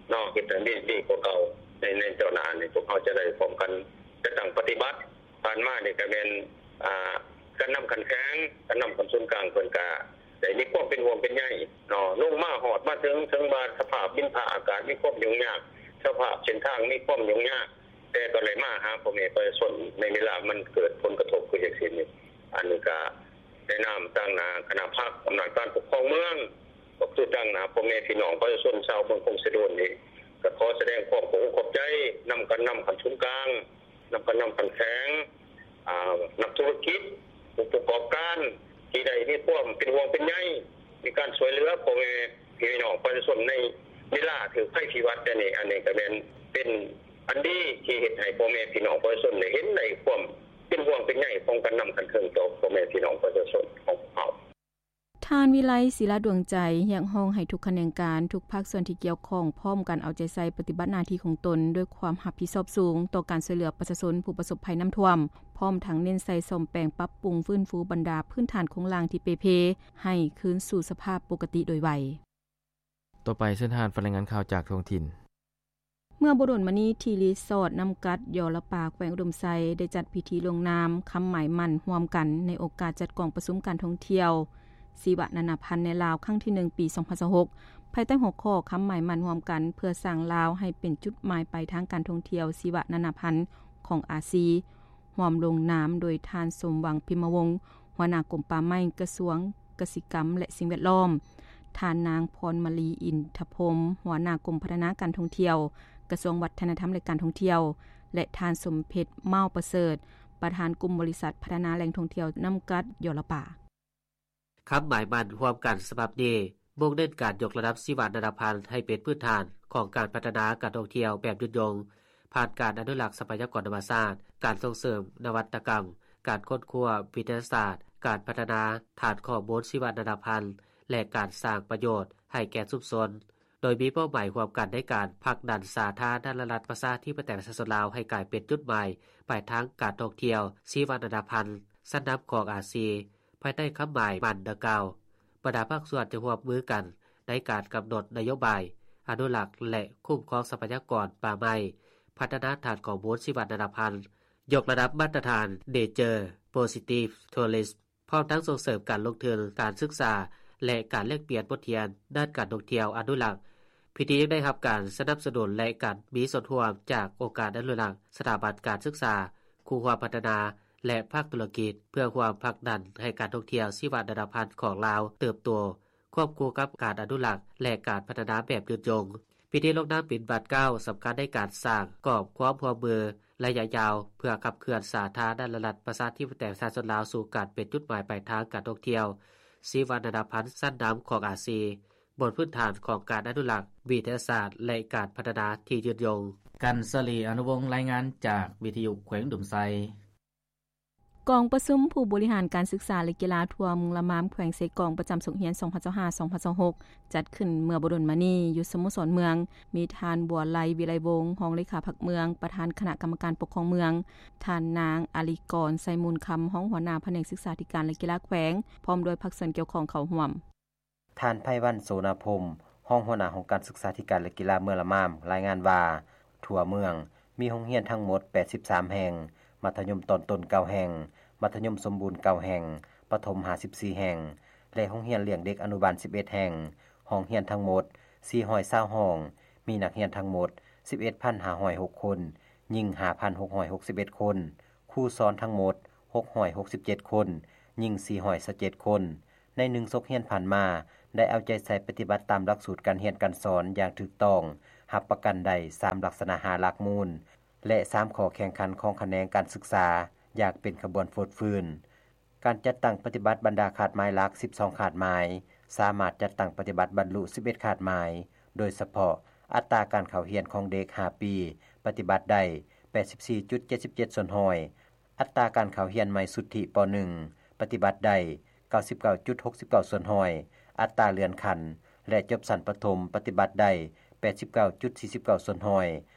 ເນາະ, ເຮັດໃຫ້ມັນໄດ້ດີກວ່າເກົ່າ. ໃນ, ໃນຕໍ່ໜ້ານີ້ ພວກເຮົາຈະໄດ້ພ້ອມກັນຈັດຕັ້ງປະຕິບັດ. ຜ່ານມານີ້ກໍແມ່ນ ອາ ການນຳຂັ້ນແຂວງ, ການນຳຂັ້ນສູນກາງ ເພິ່ນກໍໄດ້ມີຄວາມເປັນຫ່ວງເປັນໃຍເນາະ, ລົງມາຮອດມາເຖິງ, ເຖິງວ່າສະພາບດິນຟ້າອາກາດມີຄວາມຫຍຸ້ງຍາກ, ສະພາບເສັ້ນທາງມີຄວາມຫຍຸ້ງຍາກ, ແຕ່ກໍໄດ້ມາຫາພໍ່ແມ່ປະຊາຊົນໃນເວລາມັນເກີດຜົນກະທົບຄືຈັ່ງຊີ້ນີ້. ອັນນີ້ກໍໃນນາມຕາງໜ້າຄະນະພັກອຳນາດການປົກຄອງເມືອງ, ກໍຄືຕາງໜ້າພໍ່ແມ່ພີ່ນ້ອງປະຊາຊົນຊາວເມືອງຄົງເຊໂດນນີ້, ກໍຂໍສະແດງຄວາມຂອບອົກຂອບໃຈນຳການນຳຂັ້ນສູນກາງ, ນຳການນຳຂັ້ນແຂວງ, ອາ, ນັກທຸລະກິດ, ຜູ້ປະກອບການ ທີ່ໄດ້ມີຄວາມເປັນຫ່ວງເປັນໃຍ, ມີການຊ່ວຍເຫຼືອພໍ່ແມ່ພີ່ນ້ອງປະຊາຊົນໃນເວລາຖືກໄພພິບັດແບບນີ້. ອັນນີ້ກໍແມ່ນເປັນ ອັນດີທີ່ເຮັດໃຫ້ພໍ່ແມ່ພີ່ນ້ອງປະຊາຊົນໄດ້ເຫັນໄດ້ຄວາມເປັນຫ່ວງເປັນໃຍຂອງການນຳຂັ້ນເທິງຕໍ່ພໍ່ແມ່ພີ່ນ້ອງປະຊາຊົນຂອງເຮົາ. ທ່ານ ວິໄລ ສີລາດວງໃຈ ຮຽກຮ້ອງໃຫ້ທຸກຂະແໜງການ, ທຸກພາກສ່ວນທີ່ກ່ຽວຂ້ອງ ພ້ອມກັນເອົາໃຈໃສ່ປະຕິບັດໜ້າທີ່ຂອງຕົນດ້ວຍຄວາມຮັບຜິດຊອບສູງຕໍ່ການຊ່ວຍເຫຼືອປະຊາຊົນຜູ້ປະສົບໄພນ້ຳຖ້ວມ, ພ້ອມທັງເນັ້ນໃສ່ສ້ອມແປງປັບປຸງຟື້ນຟູບັນດາພື້ນຖານໂຄງລ່າງທີ່ເປ່ເພ ໃຫ້ຄືນສູ່ສະພາບປົກກະຕິໂດຍໄວ. ຕໍ່ໄປເຊີນທ່ານຟັງລາຍງານຂ່າວຈາກທ້ອງຖິ່ນ. ເມື່ອບໍ່ດົນມານີ້ ທີ່ຣີສອດນ້ຳກັດ ຢໍລະປາ ແຂວງອຸດົມໄຊ ໄດ້ຈັດພິທີລົງນາມຄຳໝາຍໝັ້ນຮ່ວມກັນ ໃນໂອກາດຈັດກອງປະຊຸມການທ່ອງທ່ຽວຊີວະນານາພັນໃນລາວ ຄັ້ງທີໜຶ່ງ ປີ ສອງພັນຊາວຫົກ ພາຍໃຕ້ຫົວຂໍ້ຄຳໝາຍໝັ້ນຮ່ວມກັນ ເພື່ອສ້າງລາວໃຫ້ເປັນຈຸດໝາຍປາຍທາງການທ່ອງທ່ຽວຊີວະນານາພັນຂອງອາຊີ. ຮ່ວມລົງນາມໂດຍທ່ານ ສົມຫວັງ ພິມມະວົງ ຫົວໜ້າກົມປ່າໄມ້ ກະຊວງກະສິກຳ ແລະ ສິ່ງແວດລ້ອມ, ທ່ານນາງ ພອນມະລີ ອິນທະພົມ ຫົວໜ້າກົມພັດທະນາການທ່ອງທ່ຽວ ກະຊວງວັດທະນະທຳ ແລະ ການທ່ອງທ່ຽວ ແລະ ທ່ານ ສົມເພັດ ເມົ້າປະເສີດ ປະທານກຸ່ມບໍລິສັດພັດທະນາແຫຼ່ງທ່ອງທ່ຽວນ້ຳກັດ ຢໍລະປາ. ຄຳໝາຍໝັ້ນຮ່ວມກັນສະບັບນີ້ ມຸ່ງເນັ້ນການຍົກລະດັບຊີວະນານາພັນໃຫ້ເປັນພື້ນຖານຂອງການພັດທະນາການທ່ອງທ່ຽວແບບຍືນຍົງ, ຜ່ານການອະນຸລັກຊັບພະຍາກອນທຳມະຊາດ, ການສົ່ງເສີມນະວັດຕະກຳ, ການຄົ້ນຄວ້າວິທະຍາສາດ, ການພັດທະນາຖານຂໍ້ມູນຊີວະນານາພັນ ແລະ ການສ້າງປະໂຫຍດໃຫ້ແກ່ຊຸມຊົນ, ໂດຍມີເປົ້າໝາຍຮ່ວມກັນໃນການຜັກດັນສາທາລະນະລັດປະຊາທິປະໄຕປະຊາຊົນລາວ ໃຫ້ກາຍເປັນຈຸດໝາຍປາຍທາງການທ່ອງທ່ຽວຊີວະນານາພັນຊັ້ນນຳຂອງອາຊີ. ພາຍໃຕ້ຄຳໝາຍໝັ້ນດັ່ງກ່າວ, ບັນດາພາກສ່ວນຈະຮ່ວມມືກັນໃນການກຳນົດນະໂຍບາຍອະນຸລັກ ແລະ ຄຸ້ມຄອງຊັບພະຍາກອນປ່າໄມ້, ພັດທະນາຖານຂໍ້ມູນຊີວະນານາພັນ, ຍົກລະດັບມາດຕະຖານ Nature Positive Tourism ພ້ອມທັງສົ່ງເສີມການລົງທຶນ, ການສຶກສາ ແລະ ການແລກປ່ຽນບົດຮຽນດ້ານການທ່ອງທ່ຽວອະນຸລັກ. ພິທີຍັງໄດ້ຮັບການສະໜັບສະໜູນ ແລະ ການມີສ່ວນຮ່ວມຈາກອົງການອະນຸລັກ, ສະຖາບັນການສຶກສາ, ຄູ່ຮ່ວມພັດທະນາ ແລະ ພາກທຸລະກິດ ເພື່ອຮ່ວມຜັກດັນໃຫ້ການທ່ອງທ່ຽວຊີວະນານາພັນຂອງລາວເຕີບໂຕ ຄວບຄູ່ກັບການອະນຸລັກ ແລະ ການພັດທະນາແບບຍືນຍົງ. ພິທີລົງນາມປະຕິບັດກ້າວສຳຄັນໃນການສ້າງກອບຄວາມຮ່ວມມືໄລຍະຍາວ ເພື່ອຂັບເຄື່ອນສາທາລະນະລັດປະຊາທິປະໄຕປະຊາຊົນລາວ ສູ່ການເປັນຈຸດໝາຍປາຍທາງການທ່ອງທ່ຽວຊີວະນານາພັນຊັ້ນນຳຂອງອາຊີ ບົນພື້ນຖານຂອງການອະນຸລັກ, ວິທະຍາສາດ ແລະ ການພັດທະນາທີ່ຍືນຍົງ. ກັນສະລີ ອະນຸວົງ ລາຍງານຈາກວິທະຍຸແຂວງອຸດົມໄຊ. ກອງປະຊຸມຜູ້ບໍລິຫານການສຶກສາ ແລະ ກິລາທົ່ວເມືອງລະມາມ ແຂວງເຊກອງ ປະຈຳສົກຮຽນ ສອງພັນຊາວຫ້າ ສອງພັນຊາວຫົກ ຈັດຂຶ້ນເມື່ອບໍ່ດົນມານີ້ ຢູ່ສະໂມສອນເມືອງ, ມີທ່ານ ບົວໄລ ວິໄລວົງ ຮອງເລຂາພັກເມືອງ, ປະທານຄະນະກຳມະການປົກຄອງເມືອງ, ທ່ານນາງ ອາລີກອນ ໄຊມູນຄຳ ຮອງຫົວໜ້າພະແນກສຶກສາທິການ ແລະ ກິລາແຂວງ ພ້ອມດ້ວຍພາກສ່ວນກ່ຽວຂ້ອງເຂົ້າຮ່ວມ. ທ່ານ ໄພວັນ ໂສນາພົມ ຮອງຫົວໜ້າຫ້ອງການສຶກສາທິການ ແລະ ກິລາເມືອງລະມາມ ລາຍງານວ່າ ທົ່ວເມືອງມີໂຮງຮຽນທັງໝົດ ແປດສິບສາມແຫ່ງ, ມັດທະຍົມຕອນຕົ້ນ ເກົ້າແຫ່ງ, ມັດທະຍົມສົມບູນ ເກົ້າແຫ່ງ, ປະຖົມ ຫ້າສິບສີ່ແຫ່ງ ແລະ ໂຮງຮຽນລ້ຽງເດັກອະນຸບານ ສິບເອັດແຫ່ງ, ຫ້ອງຮຽນທັງໝົດ ສີ່ຮ້ອຍຊາວຫ້ອງ, ມີນັກຮຽນທັງໝົດ ສິບເອັດພັນຫ້າຮ້ອຍຫົກຄົນ, ຍິງ ຫ້າພັນຫົກຮ້ອຍຫົກສິບເອັດຄົນ, ຄູສອນທັງໝົດ ຫົກຮ້ອຍຫົກສິບເຈັດຄົນ, ຍິງ ສີ່ຮ້ອຍຊາວເຈັດຄົນ. ໃນໜຶ່ງສົກຮຽນຜ່ານມາ ໄດ້ເອົາໃຈໃສ່ປະຕິບັດຕາມຫຼັກສູດການຮຽນການສອນຢ່າງຖືກຕ້ອງ, ຮັບປະກັນໄດ້ສາມລັກສະນະຫ້າຫຼັກມູນ ແລະ ສາມຂໍ້ແຂ່ງຂັນຂອງຂະແໜງການສຶກສາຢ່າງເປັນຂະບວນຟົດຟື້ນ. ການຈັດຕັ້ງປະຕິບັດບັນດາຄາດໝາຍຫຼັກ ສິບສອງຄາດໝາຍ ສາມາດຈັດຕັ້ງປະຕິບັດບັນລຸ ສິບເອັດຄາດໝາຍ, ໂດຍສະເພາະ ອັດຕາການເຂົ້າຮຽນຂອງເດັກ ຫ້າປີ ປະຕິບັດໄດ້ ແປດສິບສີ່ຈຸດເຈັດສິບເຈັດສ່ວນຮ້ອຍ, ອັດຕາການເຂົ້າຮຽນໃໝ່ຊຸດທິ ປໜຶ່ງ ປະຕິບັດໄດ້ ເກົ້າສິບເກົ້າຈຸດຫົກສິບເກົ້າສ່ວນຮ້ອຍ, ອັດຕາເລື່ອນຂັ້ນ ແລະ ຈົບຊັ້ນປະຖົມ ປະຕິບັດໄດ້ ແປດສິບເກົ້າຈຸດສີ່ສິບເກົ້າສ່ວນຮ້ອຍ,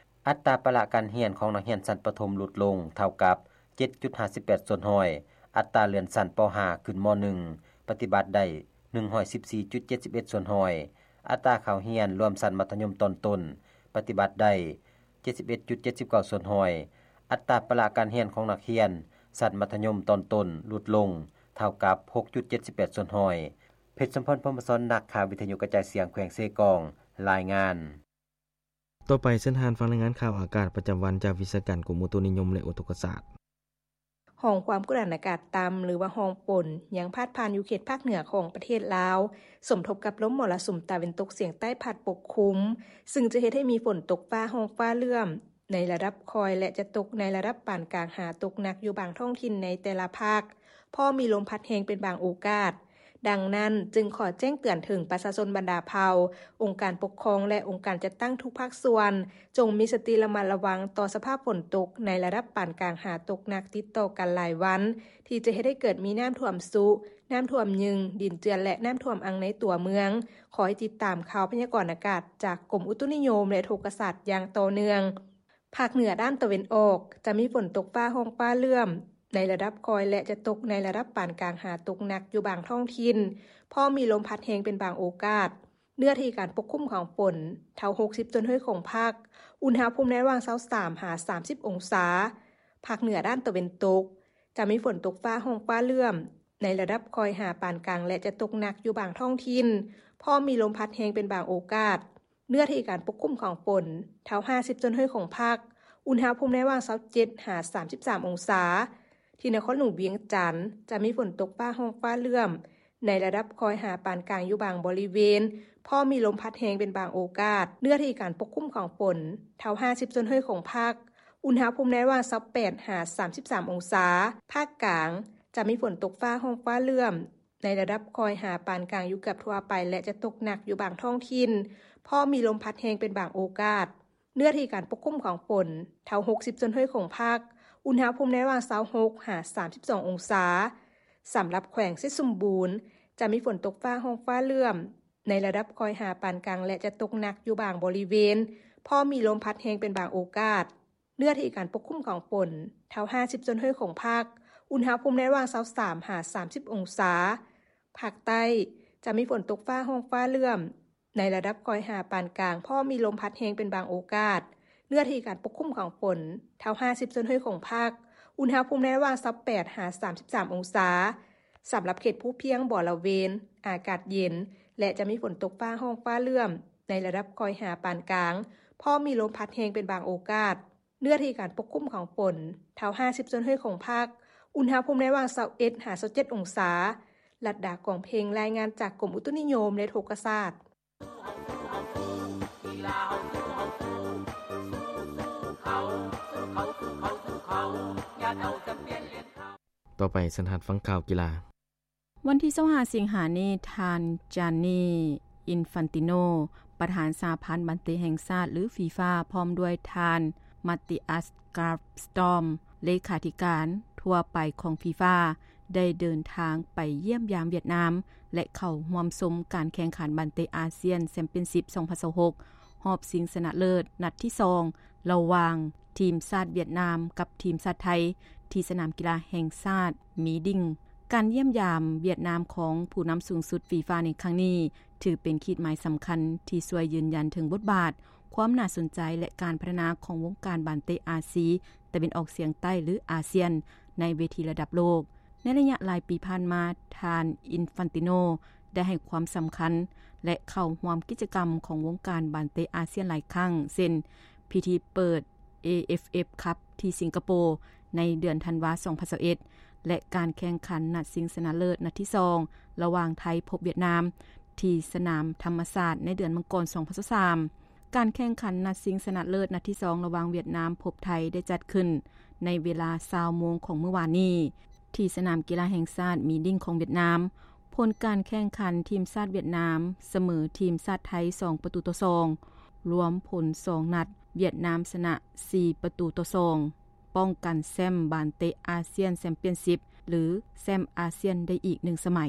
ອັດຕາປະລະການຮຽນຂອງນັກຮຽນຊັ້ນປະຖົມຫຼຸດລົງເທົ່າກັບ ເຈັດຈຸດຫ້າສິບແປດສ່ວນຮ້ອຍ, ອັດຕາເລື່ອນຊັ້ນ ປ.ຫ້າ ຂຶ້ນ ມ.ໜຶ່ງ ປະຕິບັດໄດ້ ໜຶ່ງຮ້ອຍສິບສີ່ຈຸດເຈັດສິບເອັດສ່ວນຮ້ອຍ, ອັດຕາເຂົ້າຮຽນລວມຊັ້ນມັດທະຍົມຕອນຕົ້ນ ປະຕິບັດໄດ້ ເຈັດສິບເອັດຈຸດເຈັດສິບເກົ້າສ່ວນຮ້ອຍ, ອັດຕາປະລະການຮຽນຂອງນັກຮຽນຊັ້ນມັດທະຍົມຕອນຕົ້ນຫຼຸດລົງເທົ່າກັບ ຫົກຈຸດເຈັດສິບແປດສ່ວນຮ້ອຍ. ເພັດສົມພອນ ພົມມະສອນ ນັກຂ່າວວິທະຍຸກະຈາຍສຽງແຂວງເຊກອງ ລາຍງານ. ຕໍ່ໄປເຊີນທ່ານຟັງລາຍງານຂ່າວອາກາດປະຈຳວັນຈາກວິຊາການກົມອຸຕຸນິຍົມ ແລະ ອຸທົກກະສາດ. ຮ່ອງຄວາມກົດອາກາດຕ່ຳ ຫຼືວ່າຮ່ອງຝົນ ຍັງພາດຜ່ານຢູ່ເຂດພາກເໜືອຂອງປະເທດລາວ, ສົມທົບກັບລົມມໍລະສຸມຕາເວັນຕົກສຽງໃຕ້ພັດປົກຄຸມ, ຊຶ່ງຈະເຮັດໃຫ້ມີຝົນຕົກຟ້າຮ້ອງຟ້າເຫຼື້ອມໃນລະດັບຄ່ອຍ ແລະ ຈະຕົກໃນລະດັບປານກາງຫາຕົກໜັກຢູ່ບາງທ້ອງຖິ່ນໃນແຕ່ລະພາກ, ພ້ອມມີລົມພັດແຮງເປັນບາງໂອກາດ. ດັ່ງນັ້ນ ຈຶ່ງຂໍແຈ້ງເຕືອນເຖິງປະຊາຊົນບັນດາເຜົ່າ, ອົງການປົກຄອງ ແລະ ອົງການຈັດຕັ້ງທຸກພາກສ່ວນ ຈົ່ງມີສະຕິລະມັດລະວັງຕໍ່ສະພາບຝົນຕົກໃນລະດັບປານກາງຫາຕົກໜັກຕິດຕໍ່ກັນຫຼາຍວັນ ທີ່ຈະເຮັດໃຫ້ເກີດມີນ້ຳຖ້ວມຊຸ, ນ້ຳຖ້ວມຍຶງ, ດິນເຈື່ອນ ແລະ ນ້ຳຖ້ວມອັ່ງໃນຕົວເມືອງ. ຂໍໃຫ້ຕິດຕາມຂ່າວພະຍາກອນອາກາດຈາກກົມອຸຕຸນິຍົມ ແລະ ອຸທົກກະສາດຢ່າງຕໍ່ເນື່ອງ. ພາກເໜືອດ້ານຕາເວັນອອກ ຈະມີຝົນຕົກຟ້າຮ້ອງຟ້າເຫຼື້ອມໃນລະດັບຄ່ອຍ ແລະ ຈະຕົກໃນລະດັບປານກາງຫາຕົກໜັກຢູ່ບາງທ້ອງຖິ່ນ, ພ້ອມມີລົມພັດແຮງເປັນບາງໂອກາດ. ເນື້ອທີ່ການປົກຄຸມຂອງຝົນ ເທົ່າຫົກສິບສ່ວນຮ້ອຍຂອງພາກ, ອຸນຫະພູມໃນລະຫວ່າງຊາວສາມຫາສາມສິບອົງສາ. ພາກເໜືອດ້ານຕາເວັນຕົກ ຈະມີຝົນຕົກຟ້າຮ້ອງຟ້າເຫຼື້ອມໃນລະດັບຄ່ອຍຫາປານກາງ ແລະ ຈະຕົກໜັກຢູ່ບາງທ້ອງຖິ່ນ, ພ້ອມມີລົມພັດແຮງເປັນບາງໂອກາດ. ເນື້ອທີ່ການປົກຄຸມຂອງຝົນ ເທົ່າຫ້າສິບສ່ວນຮ້ອຍຂອງພາກ, ອຸນຫະພູມໃນລະຫວ່າງຊາວເຈັດຫາສາມສິບສາມອົງສາ. ທີ່ນະຄອນຫຼວງວຽງຈັນ ຈະມີຝົນຕົກຟ້າຮ້ອງຟ້າເຫຼື້ອມໃນລະດັບຄ່ອຍຫາປານກາງຢູ່ບາງບໍລິເວນ, ພ້ອມມີລົມພັດແຮງເປັນບາງໂອກາດ. ເນື້ອທີ່ການປົກຄຸມຂອງຝົນ ເທົ່າຫ້າສິບສ່ວນຮ້ອຍຂອງພາກ, ອຸນຫະພູມໃນລະຫວ່າງຊາວແປດຫາສາມສິບສາມອົງສາ. ພາກກາງ ຈະມີຝົນຕົກຟ້າຮ້ອງຟ້າເຫຼື້ອມ ໃນລະດັບຄ່ອຍຫາປານກາງຢູ່ເກືອບທົ່ວໄປ ແລະ ຈະຕົກໜັກຢູ່ບາງທ້ອງຖິ່ນ, ພ້ອມມີລົມພັດແຮງເປັນບາງໂອກາດ. ເນື້ອທີ່ການປົກຄຸມຂອງຝົນ ເທົ່າຫົກສິບສ່ວນຮ້ອຍຂອງພາກ, ອຸນຫະພູມໃນລະຫວ່າງຊາວຫົກຫາສາມສິບສອງອົງສາ. ສຳລັບແຂວງເຊດສົມບູນ ຈະມີຝົນຕົກຟ້າຮ້ອງຟ້າເຫຼື້ອມ ໃນລະດັບຄ່ອຍຫາປານກາງ ແລະ ຈະຕົກໜັກຢູ່ບາງບໍລິເວນ, ພ້ອມມີລົມພັດແຮງເປັນບາງໂອກາດ. ເນື້ອທີ່ການປົກຄຸມຂອງຝົນ ເທົ່າຫ້າສິບສ່ວນຮ້ອຍຂອງພາກ, ອຸນຫະພູມໃນລະຫວ່າງຊາວສາມຫາສາມສິບອົງສາ. ພາກໃຕ້ ຈະມີຝົນຕົກຟ້າຮ້ອງຟ້າເຫຼື້ອມ ໃນລະດັບຄ່ອຍຫາປານກາງ, ພ້ອມມີລົມພັດແຮງເປັນບາງໂອກາດ. ເນື້ອທີ່ການປົກຄຸມຂອງຝົນ ເທົ່າຫ້າສິບສ່ວນຮ້ອຍຂອງພາກ, ອຸນຫະພູມໃນລະຫວ່າງຊາວແປດຫາສາມສິບສາມອົງສາ. ສຳລັບເຂດພູພຽງບໍລະເວນ ອາກາດເຢັນ ແລະ ຈະມີຝົນຕົກຟ້າຮ້ອງຟ້າເຫຼື້ອມ ໃນລະດັບຄ່ອຍຫາປານກາງ, ພ້ອມມີລົມພັດແຮງເປັນບາງໂອກາດ. ເນື້ອທີ່ການປົກຄຸມຂອງຝົນ ເທົ່າຫ້າສິບສ່ວນຮ້ອຍຂອງພາກ, ອຸນຫະພູມໃນລະຫວ່າງຊາວເອັດຫາຊາວເຈັດອົງສາ. ລັດດາ ກອງເພັງ ລາຍງານຈາກກົມອຸຕຸນິຍົມ ແລະ ອຸທົກກະສາດ. ຕໍ່ໄປ ເຊີນທ່ານຟັງຂ່າວກິລາ. ວັນທີຊາວຫ້າ ສິງຫານີ້, ທ່ານ ຈານນີ ອິນຟັນຕິໂນ ປະທານສະຫະພັນບານເຕະແຫ່ງຊາດ ຫຼື ຟີຟາ ພ້ອມດ້ວຍທ່ານ ມາຕິອັສ ກາຟສະຕອມ ເລຂາທິການທົ່ວໄປຂອງຟີຟາ ໄດ້ເດີນທາງໄປຢ້ຽມຢາມຫວຽດນາມ ແລະ ເຂົ້າຮ່ວມຊົມການແຂ່ງຂັນບານເຕະອາຊຽນແຊມປຽນຊິບ ສອງພັນຊາວຫົກ ຮອບຊິງຊະນະເລີດນັດທີສອງ ລະຫວ່າງທີມຊາດຫວຽດນາມກັບທີມຊາດໄທ ທີ່ສະໜາມກິລາແຫ່ງຊາດມີດິ້ງ. ການຢ້ຽມຢາມຫວຽດນາມຂອງຜູ້ນຳສູງສຸດຟີຟາໃນຄັ້ງນີ້ ຖືເປັນຂີດໝາຍສຳຄັນທີ່ຊ່ວຍຢືນຢັນເຖິງບົດບາດ, ຄວາມໜ້າສົນໃຈ ແລະ ການພັດທະນາຂອງວົງການບານເຕະອາຊີຕາເວັນອອກສຽງໃຕ້ ຫຼື ອາຊຽນ ໃນເວທີລະດັບໂລກ. ໃນໄລຍະຫຼາຍປີຜ່ານມາ, ທ່ານ ອິນຟັນຕິໂນ ໄດ້ໃຫ້ຄວາມສຳຄັນ ແລະ ເຂົ້າຮ່ວມກິດຈະກຳຂອງວົງການບານເຕະອາຊຽນຫຼາຍຄັ້ງ ເຊັ່ນ ພິທີເປີດ ເອເອັຟເອັຟ ຄັບ ທີ່ສິງກະໂປ ໃນເດືອນທັນວາ ສອງພັນຊາວເອັດ ແລະ ການແຂ່ງຂັນນັດຊິງຊະນະເລີດນັດທີສອງ ລະຫວ່າງໄທພົບຫວຽດນາມ ທີ່ສະໜາມທຳມະຊາດໃນເດືອນມັງກອນ ສອງພັນຊາວສາມ. ການແຂ່ງຂັນນັດຊິງຊະນະເລີດນັດທີສອງ ລະຫວ່າງຫວຽດນາມພົບໄທ ໄດ້ຈັດຂຶ້ນໃນເວລາຊາວໂມງຂອງມື້ວານນີ້ ທີ່ສະໜາມກິລາແຫ່ງຊາດມີດິ້ງຂອງຫວຽດນາມ. ຜົນການແຂ່ງຂັນ, ທີມຊາດຫວຽດນາມສະເໝີທີມຊາດໄທ ສອງປະຕູຕໍ່ສອງ, ລວມຜົນສອງນັດ ຫວຽດນາມຊະນະສີ່ປະຕູຕໍ່ສອງ, ປ້ອງກັນແຊ້ມບານເຕະອາຊຽນແຊມປຽນຊິບ ຫຼື ແຊ້ມອາຊຽນໄດ້ອີກໜຶ່ງສະໄໝ.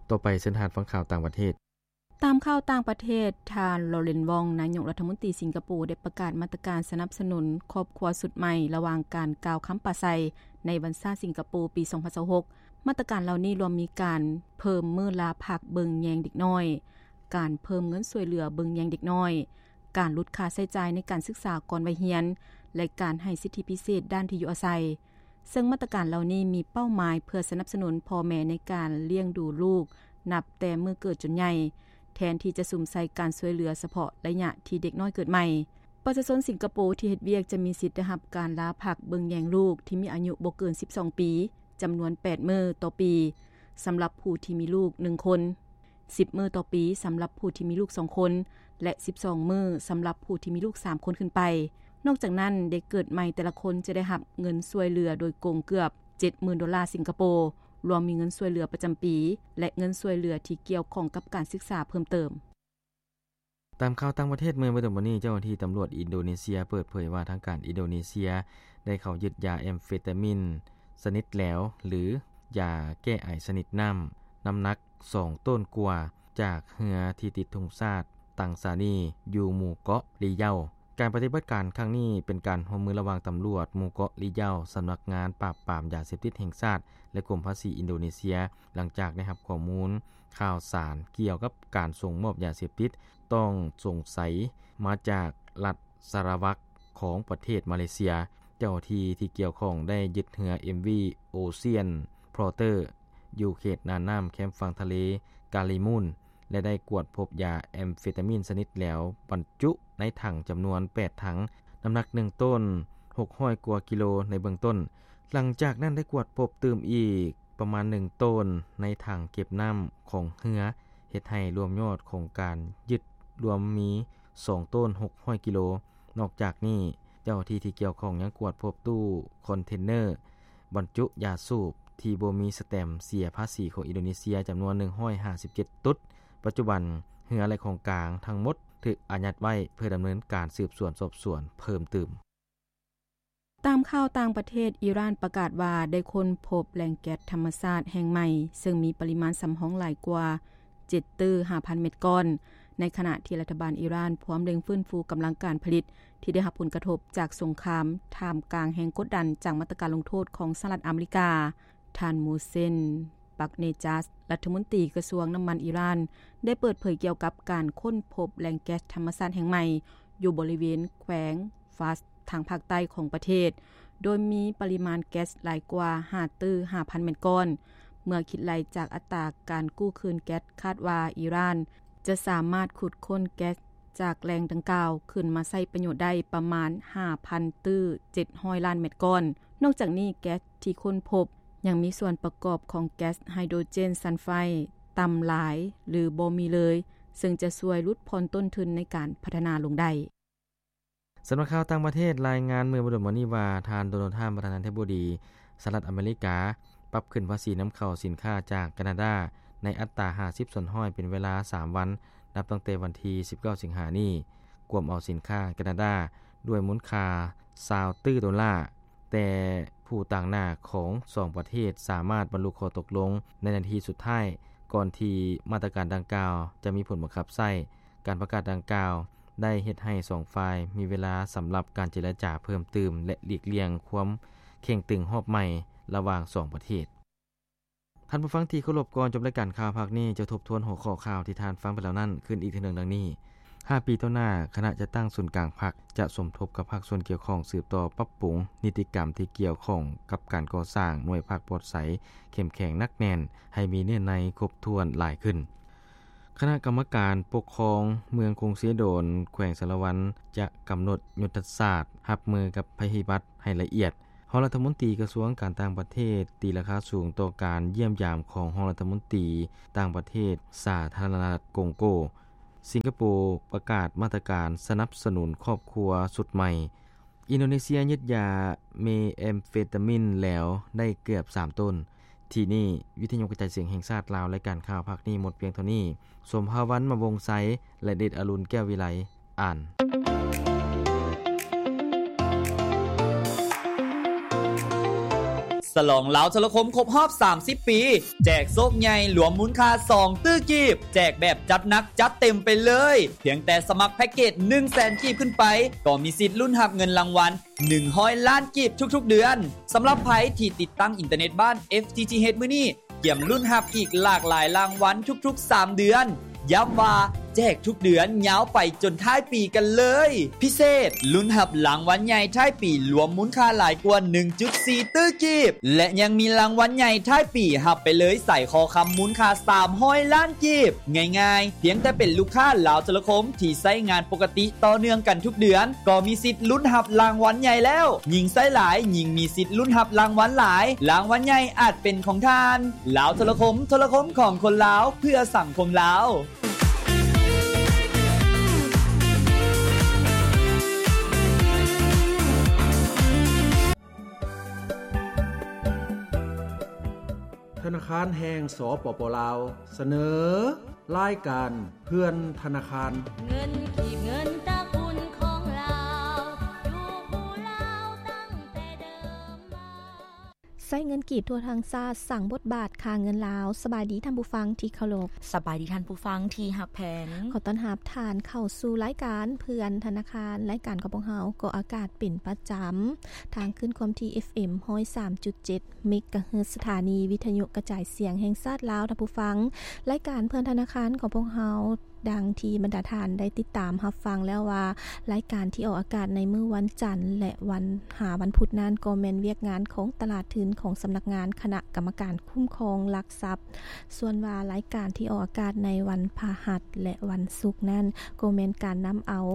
ຕໍ່ໄປ ເຊີນທ່ານຟັງຂ່າວຕ່າງປະເທດ. ຕາມຂ່າວຕ່າງປະເທດ, ທ່ານ ລໍເລັນ ວອງ ນາຍົກລັດຖະມົນຕີສິງກະໂປ ໄດ້ປະກາດມາດຕະການສະໜັບສະໜູນຄອບຄົວຊຸດໃໝ່ ລະຫວ່າງການກ່າວຄຳປາໄສໃນວັນຊາດສິງກະໂປປີສອງພັນຊາວຫົກ. ມາດຕະການເຫຼົ່ານີ້ລວມມີການເພີ່ມມື້ລາພັກເບິ່ງແຍງເດັກນ້ອຍ, ການເພີ່ມເງິນຊ່ວຍເຫຼືອເບິ່ງແຍງເດັກນ້ອຍ, ການຫຼຸດຄ່າໃຊ້ຈ່າຍໃນການສຶກສາກ່ອນໄວຮຽນ ແລະ ການໃຫ້ສິດທິພິເສດດ້ານທີ່ຢູ່ອາໄສ. ເຊິ່ງມາດຕະການເຫຼົ່ານີ້ມີເປົ້າໝາຍເພື່ອສະໜັບສະໜູນພໍ່ແມ່ໃນການລ້ຽງດູລູກນັບແຕ່ມື້ເກີດຈົນໃຫຍ່, ແທນທີ່ຈະສຸມໃສ່ການຊ່ວຍເຫຼືອສະເພາະໄລຍະທີ່ເດັກນ້ອຍເກີດໃໝ່. ປະຊາຊົນສິງກະໂປທີ່ເຮັດວຽກຈະມີສິດໄດ້ຮັບການລາພັກເບິ່ງແຍງລູກທີ່ມີອາຍຸບໍ່ເກີນສິບສອງປີ ຈຳນວນແປດມື້ຕໍ່ປີ ສຳລັບຜູ້ທີ່ມີລູກໜຶ່ງຄົນ, ສິບມື້ຕໍ່ປີສຳລັບຜູ້ທີ່ມີລູກສອງຄົນ ແລະ ສິບສອງມື້ສຳລັບຜູ້ທີ່ມີລູກສາມຄົນຂຶ້ນໄປ. ນອກຈາກນັ້ນ, ເດັກເກີດໃໝ່ແຕ່ລະຄົນຈະໄດ້ຮັບເງິນຊ່ວຍເຫຼືອໂດຍກົງເກືອບເ ເຈັດໝື່ນໂດລາສິງກະໂປ, ລວມມີເງິນຊ່ວຍເຫຼືອປະຈຳປີ ແລະ ເງິນຊ່ວຍເຫຼືອທີ່ກ່ຽວຂ້ອງກັບການສຶກສາເພີ່ມເຕີມ. ຕາມຂ່າວຕ່າງປະເທດ, ເມື່ອບໍ່ດົນມານີ້ ເຈົ້າໜ້າທີ່ຕຳຫຼວດອິນໂດເນເຊຍເປີດເຜີຍວ່າ ທາງການອິນໂດເນເຊຍໄດ້ເຂົ້າຍຶດຢາແອມເຟຕາມິນຊະນິດແຫຼວ ຫຼື ຢາແກ້ໄອຊະນິດນ້ຳ ນ້ຳໜັກສອງໂຕນກວ່າ ຈາກເຮືອທີ່ຕິດທຸງຊາດຕັງຊານີ ຢູ່ໝູ່ເກາະລີເຍົາ. ການປະຕິບັດການຄັ້ງນີ້ເປັນການຮ່ວມມືລະຫວ່າງຕຳຫຼວດໝູ່ເກາະລີເຍົາ, ສຳນັກງານປາບປາມຢາເສບຕິດແຫ່ງຊາດ ແລະ ກົມພາສີອິນໂດເນເຊຍ, ຫຼັງຈາກໄດ້ຮັບຂໍ້ມູນຂ່າວສານກ່ຽວກັບການສົ່ງມອບຢາເສບຕິດຕ້ອງສົງໄສມາຈາກລັດສາລະວັກຂອງປະເທດມາເລເຊຍ. ເຈົ້າໜ້າທີ່ທີ່ກ່ຽວຂ້ອງໄດ້ຍຶດເຮືອ ເອັມ ວີ Ocean Plotter ຢູ່ເຂດໜ້ານ້ຳແຄມຝັ່ງທະເລກາລີມູນ ແລະ ໄດ້ກວດພົບຢາແອມເຟຕາມິນຊະນິດແຫຼວບັນຈຸໃນຖັງຈຳນວນແປດຖັງ, ນ້ຳໜັກໜຶ່ງໂຕນ ຫົກຮ້ອຍກວ່າກິໂລໃນເບື້ອງຕົ້ນ. ຫຼັງຈາກນັ້ນໄດ້ກວດພົບຕື່ມອີກປະມານໜຶ່ງໂຕນໃນຖັງເກັບນ້ຳຂອງເຮືອ, ເຮັດໃຫ້ລວມຍອດຂອງການຍຶດລວມມີສອງໂຕນ ຫົກຮ້ອຍກິໂລ. ນອກຈາກນີ້, ເຈົ້າໜ້າທີ່ທີ່ກ່ຽວຂ້ອງຍັງກວດພົບຕູ້ຄອນເທນເນີບັນຈຸຢາສູບທີ່ບໍ່ມີສະແຕັມເສຍພາສີຂອງອິນໂດເນເຊຍຈຳນວນໜຶ່ງຮ້ອຍຫ້າສິບເຈັດຕຸດ. ປັດຈຸບັນ, ເຮືອ ແລະ ຂອງກາງທັງໝົດຖືກອາຍັດໄວ້ເພື່ອດຳເນີນການສືບສວນສອບສວນເພີ່ມຕື່ມ. ຕາມຂ່າວຕ່າງປະເທດ, ອີຣານປະກາດວ່າໄດ້ຄົ້ນພົບແຫຼ່ງແກັສທຳມະຊາດແຫ່ງໃໝ່ ເຊິ່ງມີປະລິມານສຳຮອງຫຼາຍກວ່າເຈັດຕື້ຫ້າພັນເມັດກ້ອນ, ໃນຂະນະທີ່ລັດຖະບານອີຣານພວມເລັ່ງຟື້ນຟູກຳລັງການຜະລິດທີ່ໄດ້ຮັບຜົນກະທົບຈາກສົງຄາມ, ທ່າມກາງແຮງກົດດັນຈາກມາດຕະການລົງໂທດຂອງສະຫະລັດອາເມລິກາ. ທ່ານ ໂມເຊນ ປັກເນຈາດ ລັດຖະມົນຕີກະຊວງນ້ຳມັນອີຣານ ໄດ້ເປີດເຜີຍກ່ຽວກັບການຄົ້ນພົບແຫຼ່ງແກັສທຳມະຊາດແຫ່ງໃໝ່ ຢູ່ບໍລິເວນແຂວງຟາສ ທາງພາກໃຕ້ຂອງປະເທດ, ໂດຍມີປະລິມານແກັສຫຼາຍກວ່າຫ້າຕື້ຫ້າພັນເມັດກ້ອນ. ເມື່ອຄິດໄລ່ຈາກອັດຕາການກູ້ຄືນແກັສ, ຄາດວ່າອີຣານຈະສາມາດຂຸດຄົ້ນແກັສຈາກແຫຼ່ງດັ່ງກ່າວຂຶ້ນມາໃຊ້ປະໂຫຍດໄດ້ປະມານຫ້າພັນຕື້ເຈັດຮ້ອຍລ້ານເມັດກ້ອນ. ນອກຈາກນີ້, ແກັສທີ່ຄົ້ນພົບຍັງມີສ່ວນປະກອບຂອງແກັສໄຮໂດຣເຈນຊັນໄຟຕ່ຳຫຼາຍ ຫຼື ບໍ່ມີເລີຍ, ເຊິ່ງຈະຊ່ວຍຫຼຸດຜ່ອນຕົ້ນທຶນໃນການພັດທະນາລົງໄດ້. ສຳນັກຂ່າວຕ່າງປະເທດລາຍງານເມື່ອບໍ່ດົນມານີ້ວ່າ ທ່ານ ໂດນັລ ທຣຳ ປະທານາທິບໍດີສະຫະລັດອາເມລິກາ ປັບຂຶ້ນພາສີນຳເຂົ້າສິນຄ້າຈາກການາດາໃນອັດຕາຫ້າສິບສ່ວນຮ້ອຍເປັນເວລາສາມວັນ, ນັບຕັ້ງແຕ່ວັນທີສິບເກົ້າສິງຫານີ້, ກວມເອົາສິນຄ້າການາດາດ້ວຍມູນຄ່າຊາວຕື້ໂດລາ. ແຕ່ຜູ້ຕາງໜ້າຂອງສອງປະເທດສາມາດບັນລຸຂໍ້ຕົກລົງໃນນາທີສຸດທ້າຍ ກ່ອນທີ່ມາດຕະການດັ່ງກ່າວຈະມີຜົນບັງຄັບໃຊ້. ການປະກາດດັ່ງກ່າວໄດ້ເຮັດໃຫ້ສອງຝ່າຍມີເວລາສຳລັບການເຈລະຈາເພີ່ມຕື່ມ ແລະ ຫຼີກລ່ຽງຄວາມເຄັ່ງຕຶງຮອບໃໝ່ລະຫວ່າງສອງປະເທດ. ທ່ານຜູ້ຟັງທີ່ເຄົາລົບ, ກ່ອນຈົບລາຍການຂ່າວພາກນີ້, ຈະທົບທວນຫົວຂໍ້ຂ່າວທີ່ທ່ານຟັງໄປແລ້ວນັ້ນຄືນອີກເທື່ອໜຶ່ງດັ່ງນີ້. ຫ້າປີຕໍ່ໜ້າ, ຄະນະຈັດຕັ້ງສູນກາງພັກຈະສົມທົບກັບພາກສ່ວນກ່ຽວຂ້ອງ ສືບຕໍ່ປັບປຸງນິຕິກຳທີ່ກ່ຽວຂ້ອງກັບການກໍ່ສ້າງໜ່ວຍພັກປອດໃສ ເຂັ້ມແຂງໜັກແໜ້ນ ໃຫ້ມີເນື້ອໃນຄົບຖ້ວນຫຼາຍຂຶ້ນ. ຄະນະກຳມະການປົກຄອງເມືອງກົງເຊໂດນ ແຂວງສາລະວັນ ຈະກຳນົດຍຸດທະສາດຮັບມືກັບໄພພິບັດໃຫ້ລະອຽດ. ຮອງລັດຖະມົນຕີກະຊວງການຕ່າງປະເທດ ຕີລາຄາສູງຕໍ່ການຢ້ຽມຢາມຂອງຮອງລັດຖະມົນຕີຕ່າງປະເທດສາທາລະນະລັດກົງໂກ. ສິງກະໂປປະກາດມາດຕະການສະໜັບສະໜູນຄອບຄົວຊຸດໃໝ່. ອິນໂດເນເຊຍຍຶດຢາເມແອມເຟຕາມິນແຫຼວໄດ້ເກືອບສາມໂຕນ. ທີ່ນີ້ ວິທະຍຸກະຈາຍສຽງແຫ່ງຊາດລາວ, ລາຍການຂ່າວພາກນີ້ໝົດພຽງເທົ່ານີ້. ສົມພາວັນ ມະວົງໄຊ ແລະ ເດດອະລຸນ ແກ້ວວິໄລ ອ່ານ. ສະຫຼອງລາວໂທລະຄົມຄົບຮອບສາມສິບປີ ແຈກໂຊກໃຫຍ່ລວມມູນຄ່າສອງຕື້ກີບ, ແຈກແບບຈັດໜັກຈັດເຕັມໄປເລີຍ. ພຽງແຕ່ສະໝັກແພັກເກດໜຶ່ງແສນກີບຂຶ້ນໄປ ກໍມີສິດລຸ້ນຮັບເງິນລາງວັນ ໜຶ່ງຮ້ອຍລ້ານກີບທຸກໆເດືອນ. ສຳລັບໃຜທີ່ຕິດຕັ້ງອິນເຕີເນັດບ້ານ ເອັຟ ທີ ທີ ເອັດ ມື້ນີ້ ກຽມລຸ້ນຮັບອີກຫຼາກຫຼາຍລາງວັນທຸກໆສາມເດືອນ. ຢ້ຳວ່າແຈກທຸກເດືອນຍາວໄປຈົນທ້າຍປີກັນເລີຍ. ພິເສດ, ລຸ້ນຮັບລາງວັນໃຫຍ່ທ້າຍປີລວມມູນຄ່າຫຼາຍກວ່າໜຶ່ງຈຸດສີ່ຕື້ກີບ ແລະ ຍັງມີລາງວັນໃຫຍ່ທ້າຍປີຮັບໄປເລີຍສາຍຄໍຄຳມູນຄ່າສາມຮ້ອຍລ້ານ ກີບ. ງ່າຍໆ, ພຽງແຕ່ເປັນລູກຄ້າລາວໂທລະຄົມທີ່ໃຊ້ງານປົກກະຕິຕໍ່ເນື່ອງກັນທຸກເດືອນ ກໍມີສິດລຸ້ນຮັບລາງວັນໃຫຍ່ແລ້ວ. ຍິ່ງໃຊ້ຫຼາຍ, ຍິ່ງມີສິດລຸ້ນຮັບລາງວັນຫຼາຍ. ລາງວັນໃຫຍ່ອາດເປັນຂອງທ່ານ. ລາວໂທລະຄົມ, ໂທລະຄົມຂອງຄົນລາວ, ເພື່ອສັງຄົມລາວ. ທະນາຄານແຫ່ງ ສປປ ລາວ ສະເໜີ ລາຍການເພື່ອນທະນາຄານ. ເງິນກີບ ເງິນຕະກຸນຂອງລາວ ຢູ່ຄູ່ລາວຕັ້ງແຕ່ເດີມມາ. ໃຊ້ເງິນກີບທົ່ວທັງຊາດ ສ້າງບົດບາດຄ່າເງິນລາວ. ສະບາຍດີທ່ານຜູ້ຟັງທີ່ເຄົາລົບ. ສະບາຍດີທ່ານຜູ້ຟັງທີ່ຮັກແພງ. ຂໍຕ້ອນຮັບທ່ານເຂົ້າສູ່ລາຍການເພື່ອນທະນາຄານ. ລາຍການຂອງພວກເຮົາອອກອາກາດເປັນປະຈຳ ທາງຄື້ນຄວາມຖີ່ ເອັຟເອັມ ຮ້ອຍສາມຈຸດເຈັດ ເມກະເຮີດ ສະຖານີວິທະຍຸກະຈາຍສຽງແຫ່ງຊາດລາວ. ທ່ານຜູ້ຟັງ, ລາຍການເພື່ອນທະນາຄານຂອງພວກເຮົາ ດັ່ງທີ່ບັນດາທ່ານໄດ້ຕິດຕາມຮັບຟັງແລ້ວວ່າ ລາຍການທີ່ອອກອາກາດໃນມື້ວັນຈັນ ແລະ ວັນ ຫາວັນພຸດນັ້ນ ກໍແມ່ນວຽກງານຂອງຕະຫຼາດທຶນຂອງສຳນັກງານຄະນະກຳມະການຄຸ້ມຄອງຫຼັກຊັບ. ສ່ວນວ່າລາຍການທີ່ອອກອາກາດໃນວັນພະຫັດ ແລະ ວັນສຸກນັ້ນ ກໍແມ່ນການນຳເອົາ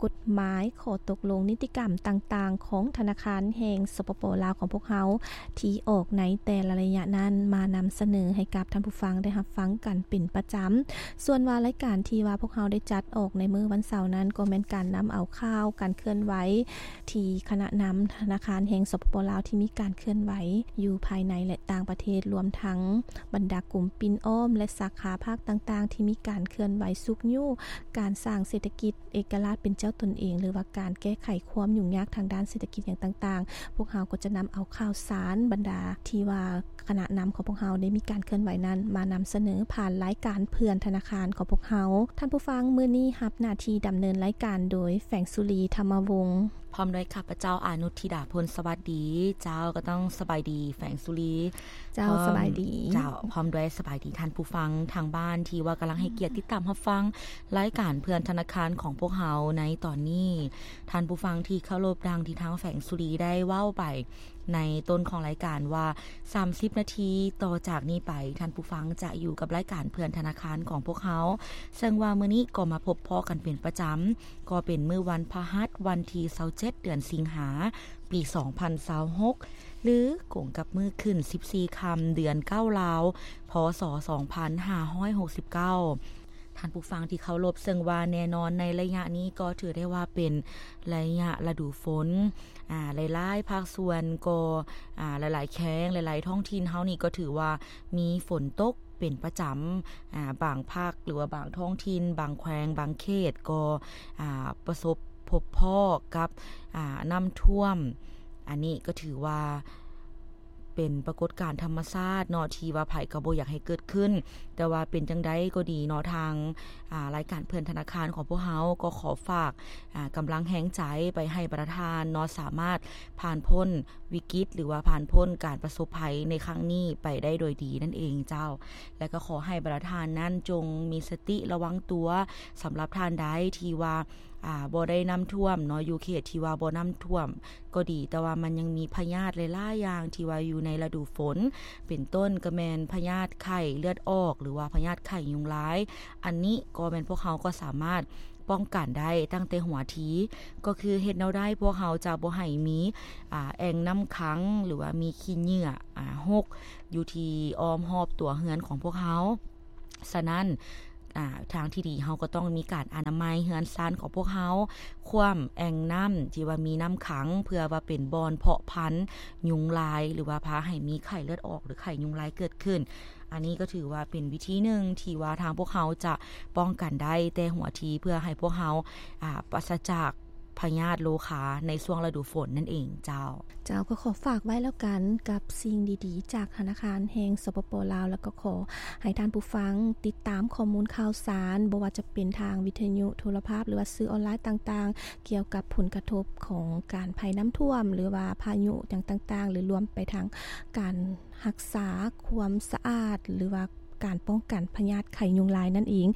ກົດໝາຍ, ຂໍ້ຕົກລົງ, ນິຕິກຳຕ່າງໆຂອງທະນາຄານແຫ່ງ ສປປ ລາວ ຂອງພວກເຮົາ ທີ່ອອກໃນແຕ່ລະໄລຍະນັ້ນ ມານຳສະເໜີໃຫ້ກັບທ່ານຜູ້ຟັງໄດ້ຮັບຟັງກັນເປັນປະຈຳ. ສ່ວນວ່າລາຍການທີ່ວ່າພວກເຮົາໄດ້ຈັດອອກໃນມື້ວັນເສົານັ້ນ ກໍແມ່ນການນຳເອົາຂ່າວການເຄື່ອນໄຫວ ທີ່ຄະນະນຳທະນາຄານແຫ່ງ ສປປ ລາວ ທີ່ມີການເຄື່ອນໄຫວຢູ່ພາຍໃນ ແລະ ຕ່າງປະເທດ, ລວມທັງບັນດາກົມປິ່ນອ້ອມ ແລະ ສາຂາພາກຕ່າງໆ ທີ່ມີການເຄື່ອນໄຫວຊຸກຍູ້ການສ້າງເສດຖະກິດ ເອກະລາດເປັນເຈົ້າຕົນເອງ ຫຼືວ່າການແກ້ໄຂຄວາມຫຍຸ້ງຍາກທາງດ້ານເສດຖະກິດຫຍັງຕ່າງໆ, ພວກເຮົາກໍຈະນຳເອົາຂ່າວສານບັນດາທີ່ວ່າຄະນະນຳຂອງພວກເຮົາໄດ້ມີການເຄື່ອນໄຫວນັ້ນ ມານຳສະເໜີຜ່ານລາຍການເພື່ອນທະນາຄານຂອງພວກເຮົາ. ທ່ານຜູ້ຟັງ, ມື້ນີ້ຮັບໜ້າທີ່ດຳເນີນລາຍການໂດຍ ແຝງສຸລີ ທຳມະວົງ ພ້ອມດ້ວຍຂ້າພະເຈົ້າ ອານຸດທິດາ ພົນສະຫວັດດີ. ເຈົ້າ, ກໍຕ້ອງສະບາຍດີ ແຝງສຸລີ. ເຈົ້າ, ພ້ອມ ສະບາຍດີ. ເຈົ້າ, ພ້ອມດ້ວຍສະບາຍດີທ່ານຜູ້ຟັງທາງບ້ານ ທີ່ວ່າກຳລັງໃຫ້ກຽດຕິດຕາມຮັບຟັງລາຍການເພື່ອນທະນາຄານຂອງພວກເຮົາໃນຕອນນີ້. ທ່ານຜູ້ຟັງທີ່ເຄົາລົບ, ດັ່ງທີ່ທາງແຝງສຸລີໄດ້ເວົ້າໄປໃນຕົ້ນຂອງລາຍການວ່າ ສາມສິບນາທີຕໍ່ຈາກນີ້ໄປ, ທ່ານຜູ້ຟັງຈະຢູ່ກັບລາຍການເພື່ອນທະນາຄານຂອງພວກເຮົາ, ເຊິ່ງວ່າມື້ນີ້ກໍມາພົບພໍ້ກັນເປັນປະຈຳ, ກໍເປັນມື້ວັນພະຫັດ ວັນທີຊາວເຈັດ ເດືອນສິງຫາ ປີສອງພັນຊາວຫົກ ຫຼືກົງກັບມື້ຂຶ້ນສິບສີ່ຄ່ຳ ເດືອນເກົ້າລາວ ພ.ສ. ສອງພັນຫ້າຮ້ອຍຫົກສິບເກົ້າ. ທ່ານຜູ້ຟັງທີ່ເຄົາລົບ, ເຊິ່ງວ່າແນ່ນອນໃນໄລຍະນີ້ກໍຖືໄດ້ວ່າເປັນໄລຍະລະດູຝົນ, ອາ, ຫຼາຍໆພາກສ່ວນກໍ, ອາ, ຫຼາຍໆແຂວງ, ຫຼາຍໆທ້ອງຖິ່ນເຮົານີ້ກໍຖືວ່າມີຝົນຕົກ ເປັນປະຈຳ, ອາ, ບາງພາກ ຫຼືວ່າບາງທ້ອງຖິ່ນ, ບາງແຂວງ, ບາງເຂດກໍ, ອາ, ປະສົບພົບພໍ້ກັບ, ອາ, ນ້ຳຖ້ວມ. ອັນນີ້ກໍຖືວ່າເປັນປາກົດການທຳມະຊາດເນາະ ທີ່ວ່າໃຜກໍບໍ່ຢາກໃຫ້ເກີດຂຶ້ນ, ແຕ່ວ່າເປັນຈັ່ງໃດກໍດີເນາະ, ທາງ, ອາ, ລາຍການເພື່ອນທະນາຄານຂອງພວກເຮົາກໍຂໍຝາກ, ອາ, ກຳລັງແຮງໃຈໄປໃຫ້ບັນດາທ່ານເນາະ, ສາມາດຜ່ານພົ້ນ ວິກິດ ຫຼືວ່າຜ່ານພົ້ນການປະສົບໄພໃນຄັ້ງນີ້ໄປໄດ້ໂດຍດີນັ້ນເອງເຈົ້າ. ແລະກໍຂໍໃຫ້ບັນດາທ່ານນັ້ນຈົ່ງມີສະຕິລະວັງຕົວ, ສຳລັບທ່ານໃດທີ່ວ່າ, ອາ, ບໍ່ໄດ້ນ້ຳຖ້ວມເນາະ, ຢູ່ເຂດທີ່ວ່າບໍ່ນ້ຳຖ້ວມກໍດີ, ແຕ່ວ່າມັນຍັງມີພະຍາດຫຼາຍໆຢ່າງທີ່ວ່າຢູ່ໃນລະດູຝົນ, ເປັນຕົ້ນກໍແມ່ນພະຍາດໄຂ້ເລືອດອອກ ຫຼືວ່າພະຍາດໄຂ້ຍຸງລາຍ. ອັນນີ້ກໍແມ່ນພວກເຮົາກໍສາມາດ ປ້ອງກັນໄດ້ຕັ້ງແຕ່ຫົວທີ, ກໍຄືເຮັດແນວໃດພວກເຮົາຈະບໍ່ໃຫ້ມີ, ອາ, ແອ່ງນ້ຳຂັງ ຫຼືວ່າມີຂີ້ເຫຍື້ອ, ອາ, ຫົກຢູ່ທີ່ອ້ອມຮອບຕົວເຮືອນຂອງພວກເຮົາ. ສະນັ້ນ, ອາ, ທາງທີ່ດີເຮົາກໍຕ້ອງມີການອະນາໄມເຮືອນຊານຂອງພວກເຮົາ, ຂວ້ຳແອ່ງນ້ຳທີ່ວ່າມີນ້ຳຂັງ ເພື່ອວ່າເປັນບ່ອນເພາະພັນຍຸງລາຍ ຫຼືວ່າພາໃຫ້ມີໄຂ້ເລືອດອອກ ຫຼື ໄຂ້ຍຸງລາຍເກີດຂຶ້ນ. ອັນນີ້ກໍຖືວ່າເປັນວິທີໜຶ່ງທີ່ວ່າທາງພວກເຮົາຈະປ້ອງກັນໄດ້ແຕ່ຫົວທີ ເພື່ອໃຫ້ພວກເຮົາ, ອາ, ປາສະຈາກພະຍາດໂລຄາໃນຊ່ວງລະດູຝົນນັ້ນເອງເຈົ້າ. ເຈົ້າ, ກໍຂໍຝາກໄວ້ແລ້ວກັນກັບສິ່ງດີໆຈາກທະນາຄານແຫ່ງ ສປປ ລາວ, ແລ້ວກໍຂໍໃຫ້ທ່ານຜູ້ຟັງຕິດຕາມຂໍ້ມູນຂ່າວສານ, ບໍ່ວ່າຈະເປັນທາງວິທະຍຸ, ໂທລະພາບ ຫຼືວ່າສື່ອອນລາຍຕ່າງໆ, ກ່ຽວກັບຜົນກະທົບຂອງການໄພນ້ຳຖ້ວມ ຫຼືວ່າພາຍຸຫຍັງຕ່າງໆ, ຫຼືລວມໄປທາງການ ຮັກສາຄວາມສະອາດ ຫຼືວ່າການປ້ອງກັນພະຍາດໄຂ້ຍຸງລາຍນັ້ນເອງ.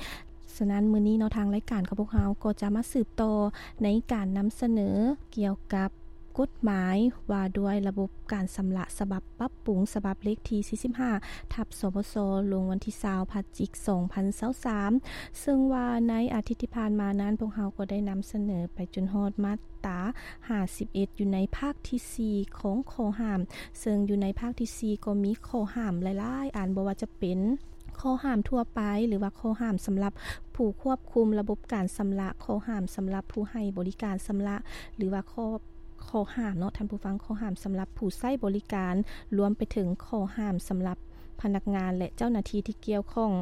ສະນັ້ນ ມື້ນີ້ເນາະ ທາງລາຍການຂອງພວກເຮົາກໍຈະມາສືບຕໍ່ໃນການນຳສະເໜີກ່ຽວກັບກົດໝາຍວ່າດ້ວຍລະບົບການຊຳລະ ສະບັບປັບປຸງ ສະບັບເລກທີສີ່ສິບຫ້າ ທັບ ສບສ ລົງວັນທີຊາວ ພະຈິກ ສອງພັນຊາວສາມ ເຊິ່ງວ່າໃນອາທິດທີ່ຜ່ານມານັ້ນ ພວກເຮົາກໍໄດ້ນຳສະເໜີໄປຈົນຮອດມາດຕາຫ້າສິບເອັດ ຢູ່ໃນພາກທີສີ່ຂອງຂໍ້ຫ້າມ ເຊິ່ງຢູ່ໃນພາກທີສີ່ກໍມີຂໍ້ຫ້າມຫຼາຍໆອັນ ບໍ່ວ່າຈະເປັນຂໍ້ຫ້າມທົ່ວໄປ ຫຼືວ່າຂໍ້ຫ້າມສຳລັບຜູ້ຄວບຄຸມລະບົບການຊຳລະ, ຂໍ້ຫ້າມສຳລັບຜູ້ໃຫ້ບໍລິການຊຳລະ ຫຼືວ່າຂໍ້, ຂໍ້ຫ້າມເນາະທ່ານຜູ້ຟັງ, ຂໍ້ຫ້າມສຳລັບຜູ້ໃຊ້ບໍລິການ, ລວມໄປເຖິງຂໍ້ຫ້າມສຳລັບ ພະນັກງານ ແລະ ເຈົ້າໜ້າທີ່ທີ່ກ່ຽວຂ້ອງ.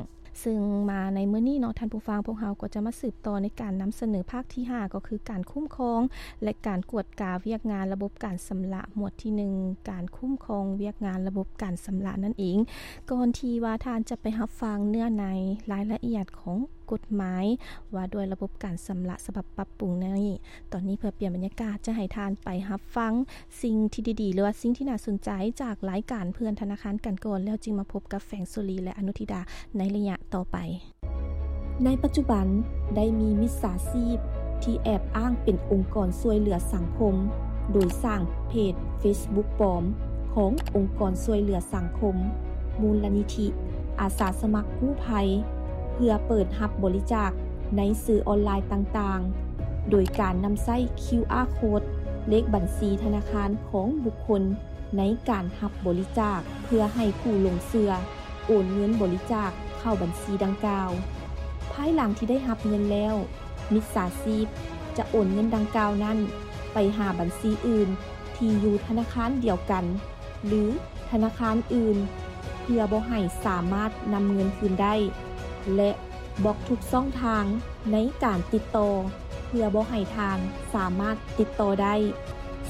ຊຶ່ງມາໃນມື້ນີ້ເນາະ ທ່ານຜູ້ຟັງ, ພວກເຮົາກໍຈະມາສືບຕໍ່ໃນການນຳສະເໜີພາກທີຫ້າ ກໍຄືການຄຸ້ມຄອງ ແລະ ການກວດກາວຽກງານລະບົບການຊຳລະ ໝວດທີໜຶ່ງ ການຄຸ້ມຄອງວຽກງານລະບົບການຊຳລະນັ້ນເອງ. ກ່ອນທີ່ວ່າທ່ານຈະໄປຮັບຟັງເນື້ອໃນລາຍລະອຽດຂອງ ກົດໝາຍວ່າດ້ວຍລະບົບການຊຳລະສະບັບປັບປຸງໃນນີ້. ຕອນນີ້ເພື່ອປ່ຽນບັນຍາກາດ ຈະໃຫ້ທ່ານໄປຮັບຟັງສິ່ງທີ່ດີໆ ຫຼືວ່າສິ່ງທີ່ໜ້າສົນໃຈຈາກລາຍການເພື່ອນທະນາຄານກັນກ່ອນ ແລ້ວຈຶ່ງມາພົບກັບແຟງໂຊລີ ແລະ ອະນຸທິດາໃນໄລຍະຕໍ່ໄປ. ໃນປັດຈຸບັນໄດ້ມີມິດສາຊີບທີ່ແອບອ້າງເປັນອົງກອນຊ່ວຍເຫຼືອສັງຄົມ ໂດຍສ້າງເພຈເຟສບຸກປອມຂອງອົງກອນຊ່ວຍເຫຼືອສັງຄົມ ມູນລະນິທິ ອາສາສະໝັກກູ້ໄພ ເພື່ອເປີດຮັບບໍລິຈາກໃນສື່ອອນລາຍຕ່າງໆ ໂດຍການນຳໃຊ້ຄິວອາໂຄດ ເລກບັນຊີທະນາຄານຂອງບຸກຄົນໃນການຮັບບໍລິຈາກ ເພື່ອໃຫ້ຜູ້ຫຼົງເຊື່ອໂອນເງິນບໍລິຈາກເຂົ້າບັນຊີດັ່ງກ່າວ. ພາຍຫຼັງທີ່ໄດ້ຮັບເງິນແລ້ວ, ມິດສາຊີບຈະໂອນເງິນດັ່ງກ່າວນັ້ນໄປຫາບັນຊີອື່ນທີ່ຢູ່ທະນາຄານດຽວກັນ ຫຼື ທະນາຄານອື່ນ ເພື່ອບໍ່ໃຫ້ສາມາດນຳເງິນຄືນໄດ້ ແລະ ບລັອກທຸກຊ່ອງທາງໃນການຕິດຕໍ່ ເພື່ອບໍ່ໃຫ້ທ່ານສາມາດຕິດຕໍ່ໄດ້.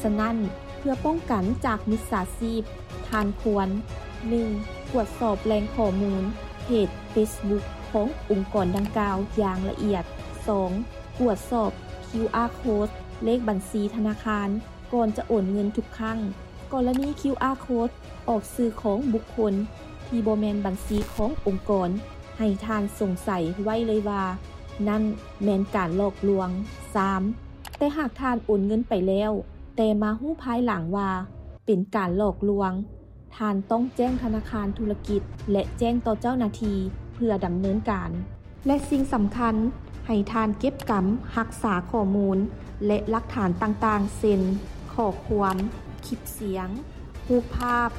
ສະນັ້ນ, ເພື່ອປ້ອງກັນຈາກມິດສາຊີບ, ທ່ານຄວນ ໜຶ່ງ ກວດສອບແຫຼ່ງຂໍ້ມູນເພຈເຟສບຸກຂອງອົງກອນດັ່ງກ່າວຢ່າງລະອຽດ. ສອງ ກວດສອບຄິວອາໂຄດ ເລກບັນຊີທະນາຄານ ກ່ອນຈະໂອນເງິນທຸກຄັ້ງ. ກໍລະນີຄິວອາໂຄດອອກຊື່ຂອງບຸກຄົນທີ່ບໍ່ແມ່ນບັນຊີຂອງອົງກອນ, ໃຫ້ທ່ານສົງໄສໄວ້ເລີຍວ່ານັ້ນແມ່ນການຫຼອກລວງ. ສາມ ແຕ່ຫາກທ່ານໂອນເງິນໄປແລ້ວ, ແຕ່ມາຮູ້ພາຍຫຼັງວ່າເປັນການຫຼອກລວງ, ທ່ານຕ້ອງແຈ້ງທະນາຄານທຸລະກິດ ແລະ ແຈ້ງຕໍ່ເຈົ້າໜ້າທີ່ເພື່ອດຳເນີນການ. ແລະ ສິ່ງສຳຄັນ, ໃຫ້ທ່ານເກັບກຳຮັກສາຂໍ້ມູນ ແລະ ຫຼັກຖານຕ່າງໆ ເຊັ່ນ ຂໍ້ຄວາມ, ຄລິບສຽງ, ຮູບພາບ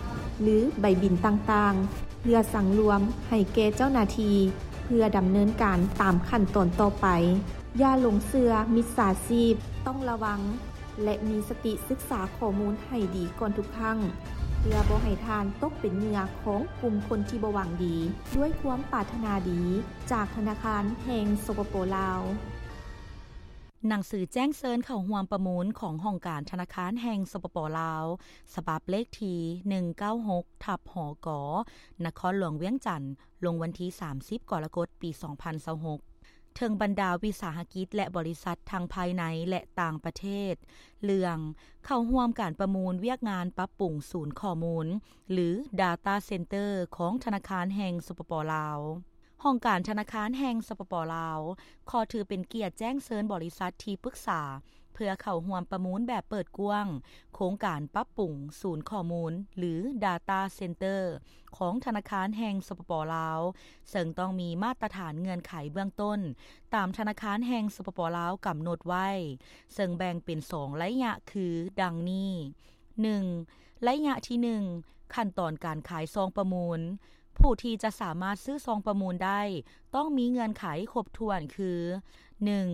ຫຼື ໃບບິນຕ່າງໆ ເພື່ອສັງລວມໃຫ້ແກ່ເຈົ້າໜ້າທີ່ ເພື່ອດຳເນີນການຕາມຂັ້ນຕອນຕໍ່ໄປ. ຢ່າຫຼົງເຊື່ອມິດສາຊີບ, ຕ້ອງລະວັງ ແລະ ມີສະຕິສຶກສາຂໍ້ມູນໃຫ້ດີກ່ອນທຸກຄັ້ງ ເພື່ອບໍ່ໃຫ້ທ່ານຕົກເປັນເຫຍື່ອຂອງກຸ່ມຄົນທີ່ບໍ່ຫວັງດີ. ດ້ວຍຄວາມປາດຖະໜາດີຈາກທະນາຄານແຫ່ງ ສປປ ລາວ. ໜັງສືແຈ້ງເຊີນເຂົ້າຮ່ວມປະມູນຂອງຫ້ອງການທະນາຄານແຫ່ງ ສປປ ລາວ ສະບັບເລກທີ ໜຶ່ງເກົ້າຫົກ ທັບ ຫກ ນະຄອນຫຼວງວຽງຈັນ ລົງວັນທີ ສາມສິບ ກໍລະກົດ ປີ ສອງພັນຊາວຫົກ ເຖິງບັນດາວິສາຫະກິດ ແລະ ບໍລິສັດທັງພາຍໃນ ແລະ ຕ່າງປະເທດ ເລື່ອງເຂົ້າຮ່ວມການປະມູນວຽກງານປັບປຸງສູນຂໍ້ມູນ ຫຼື Data Center ຂອງທະນາຄານແຫ່ງ ສປປ ລາວ. ຫ້ອງການທະນາຄານແຫ່ງ ສປປ ລາວ ຂໍຖືເປັນກຽດແຈ້ງເຊີນບໍລິສັດທີ່ປຶກສາ ເພື່ອເຂົ້າຮ່ວມປະມູນແບບເປີດກວ້າງ ໂຄງການປັບປຸງສູນຂໍ້ມູນ ຫຼື Data Center ຂອງທະນາຄານແຫ່ງ ສປປ ລາວ ເຊິ່ງຕ້ອງມີມາດຕະຖານເງື່ອນໄຂເບື້ອງຕົ້ນ ຕາມທະນາຄານແຫ່ງ ສປປ ລາວ ກຳນົດໄວ້, ເຊິ່ງແບ່ງເປັນສອງໄລຍະ ຄື ດັ່ງນີ້. ໜຶ່ງ ໄລຍະທີໜຶ່ງ ຂັ້ນຕອນການຂາຍຊອງປະມູນ. ຜູ້ທີ່ຈະສາມາດຊື້ຊອງປະມູນໄດ້ ຕ້ອງມີເງື່ອນໄຂຄົບຖ້ວນ ຄື ໜຶ່ງ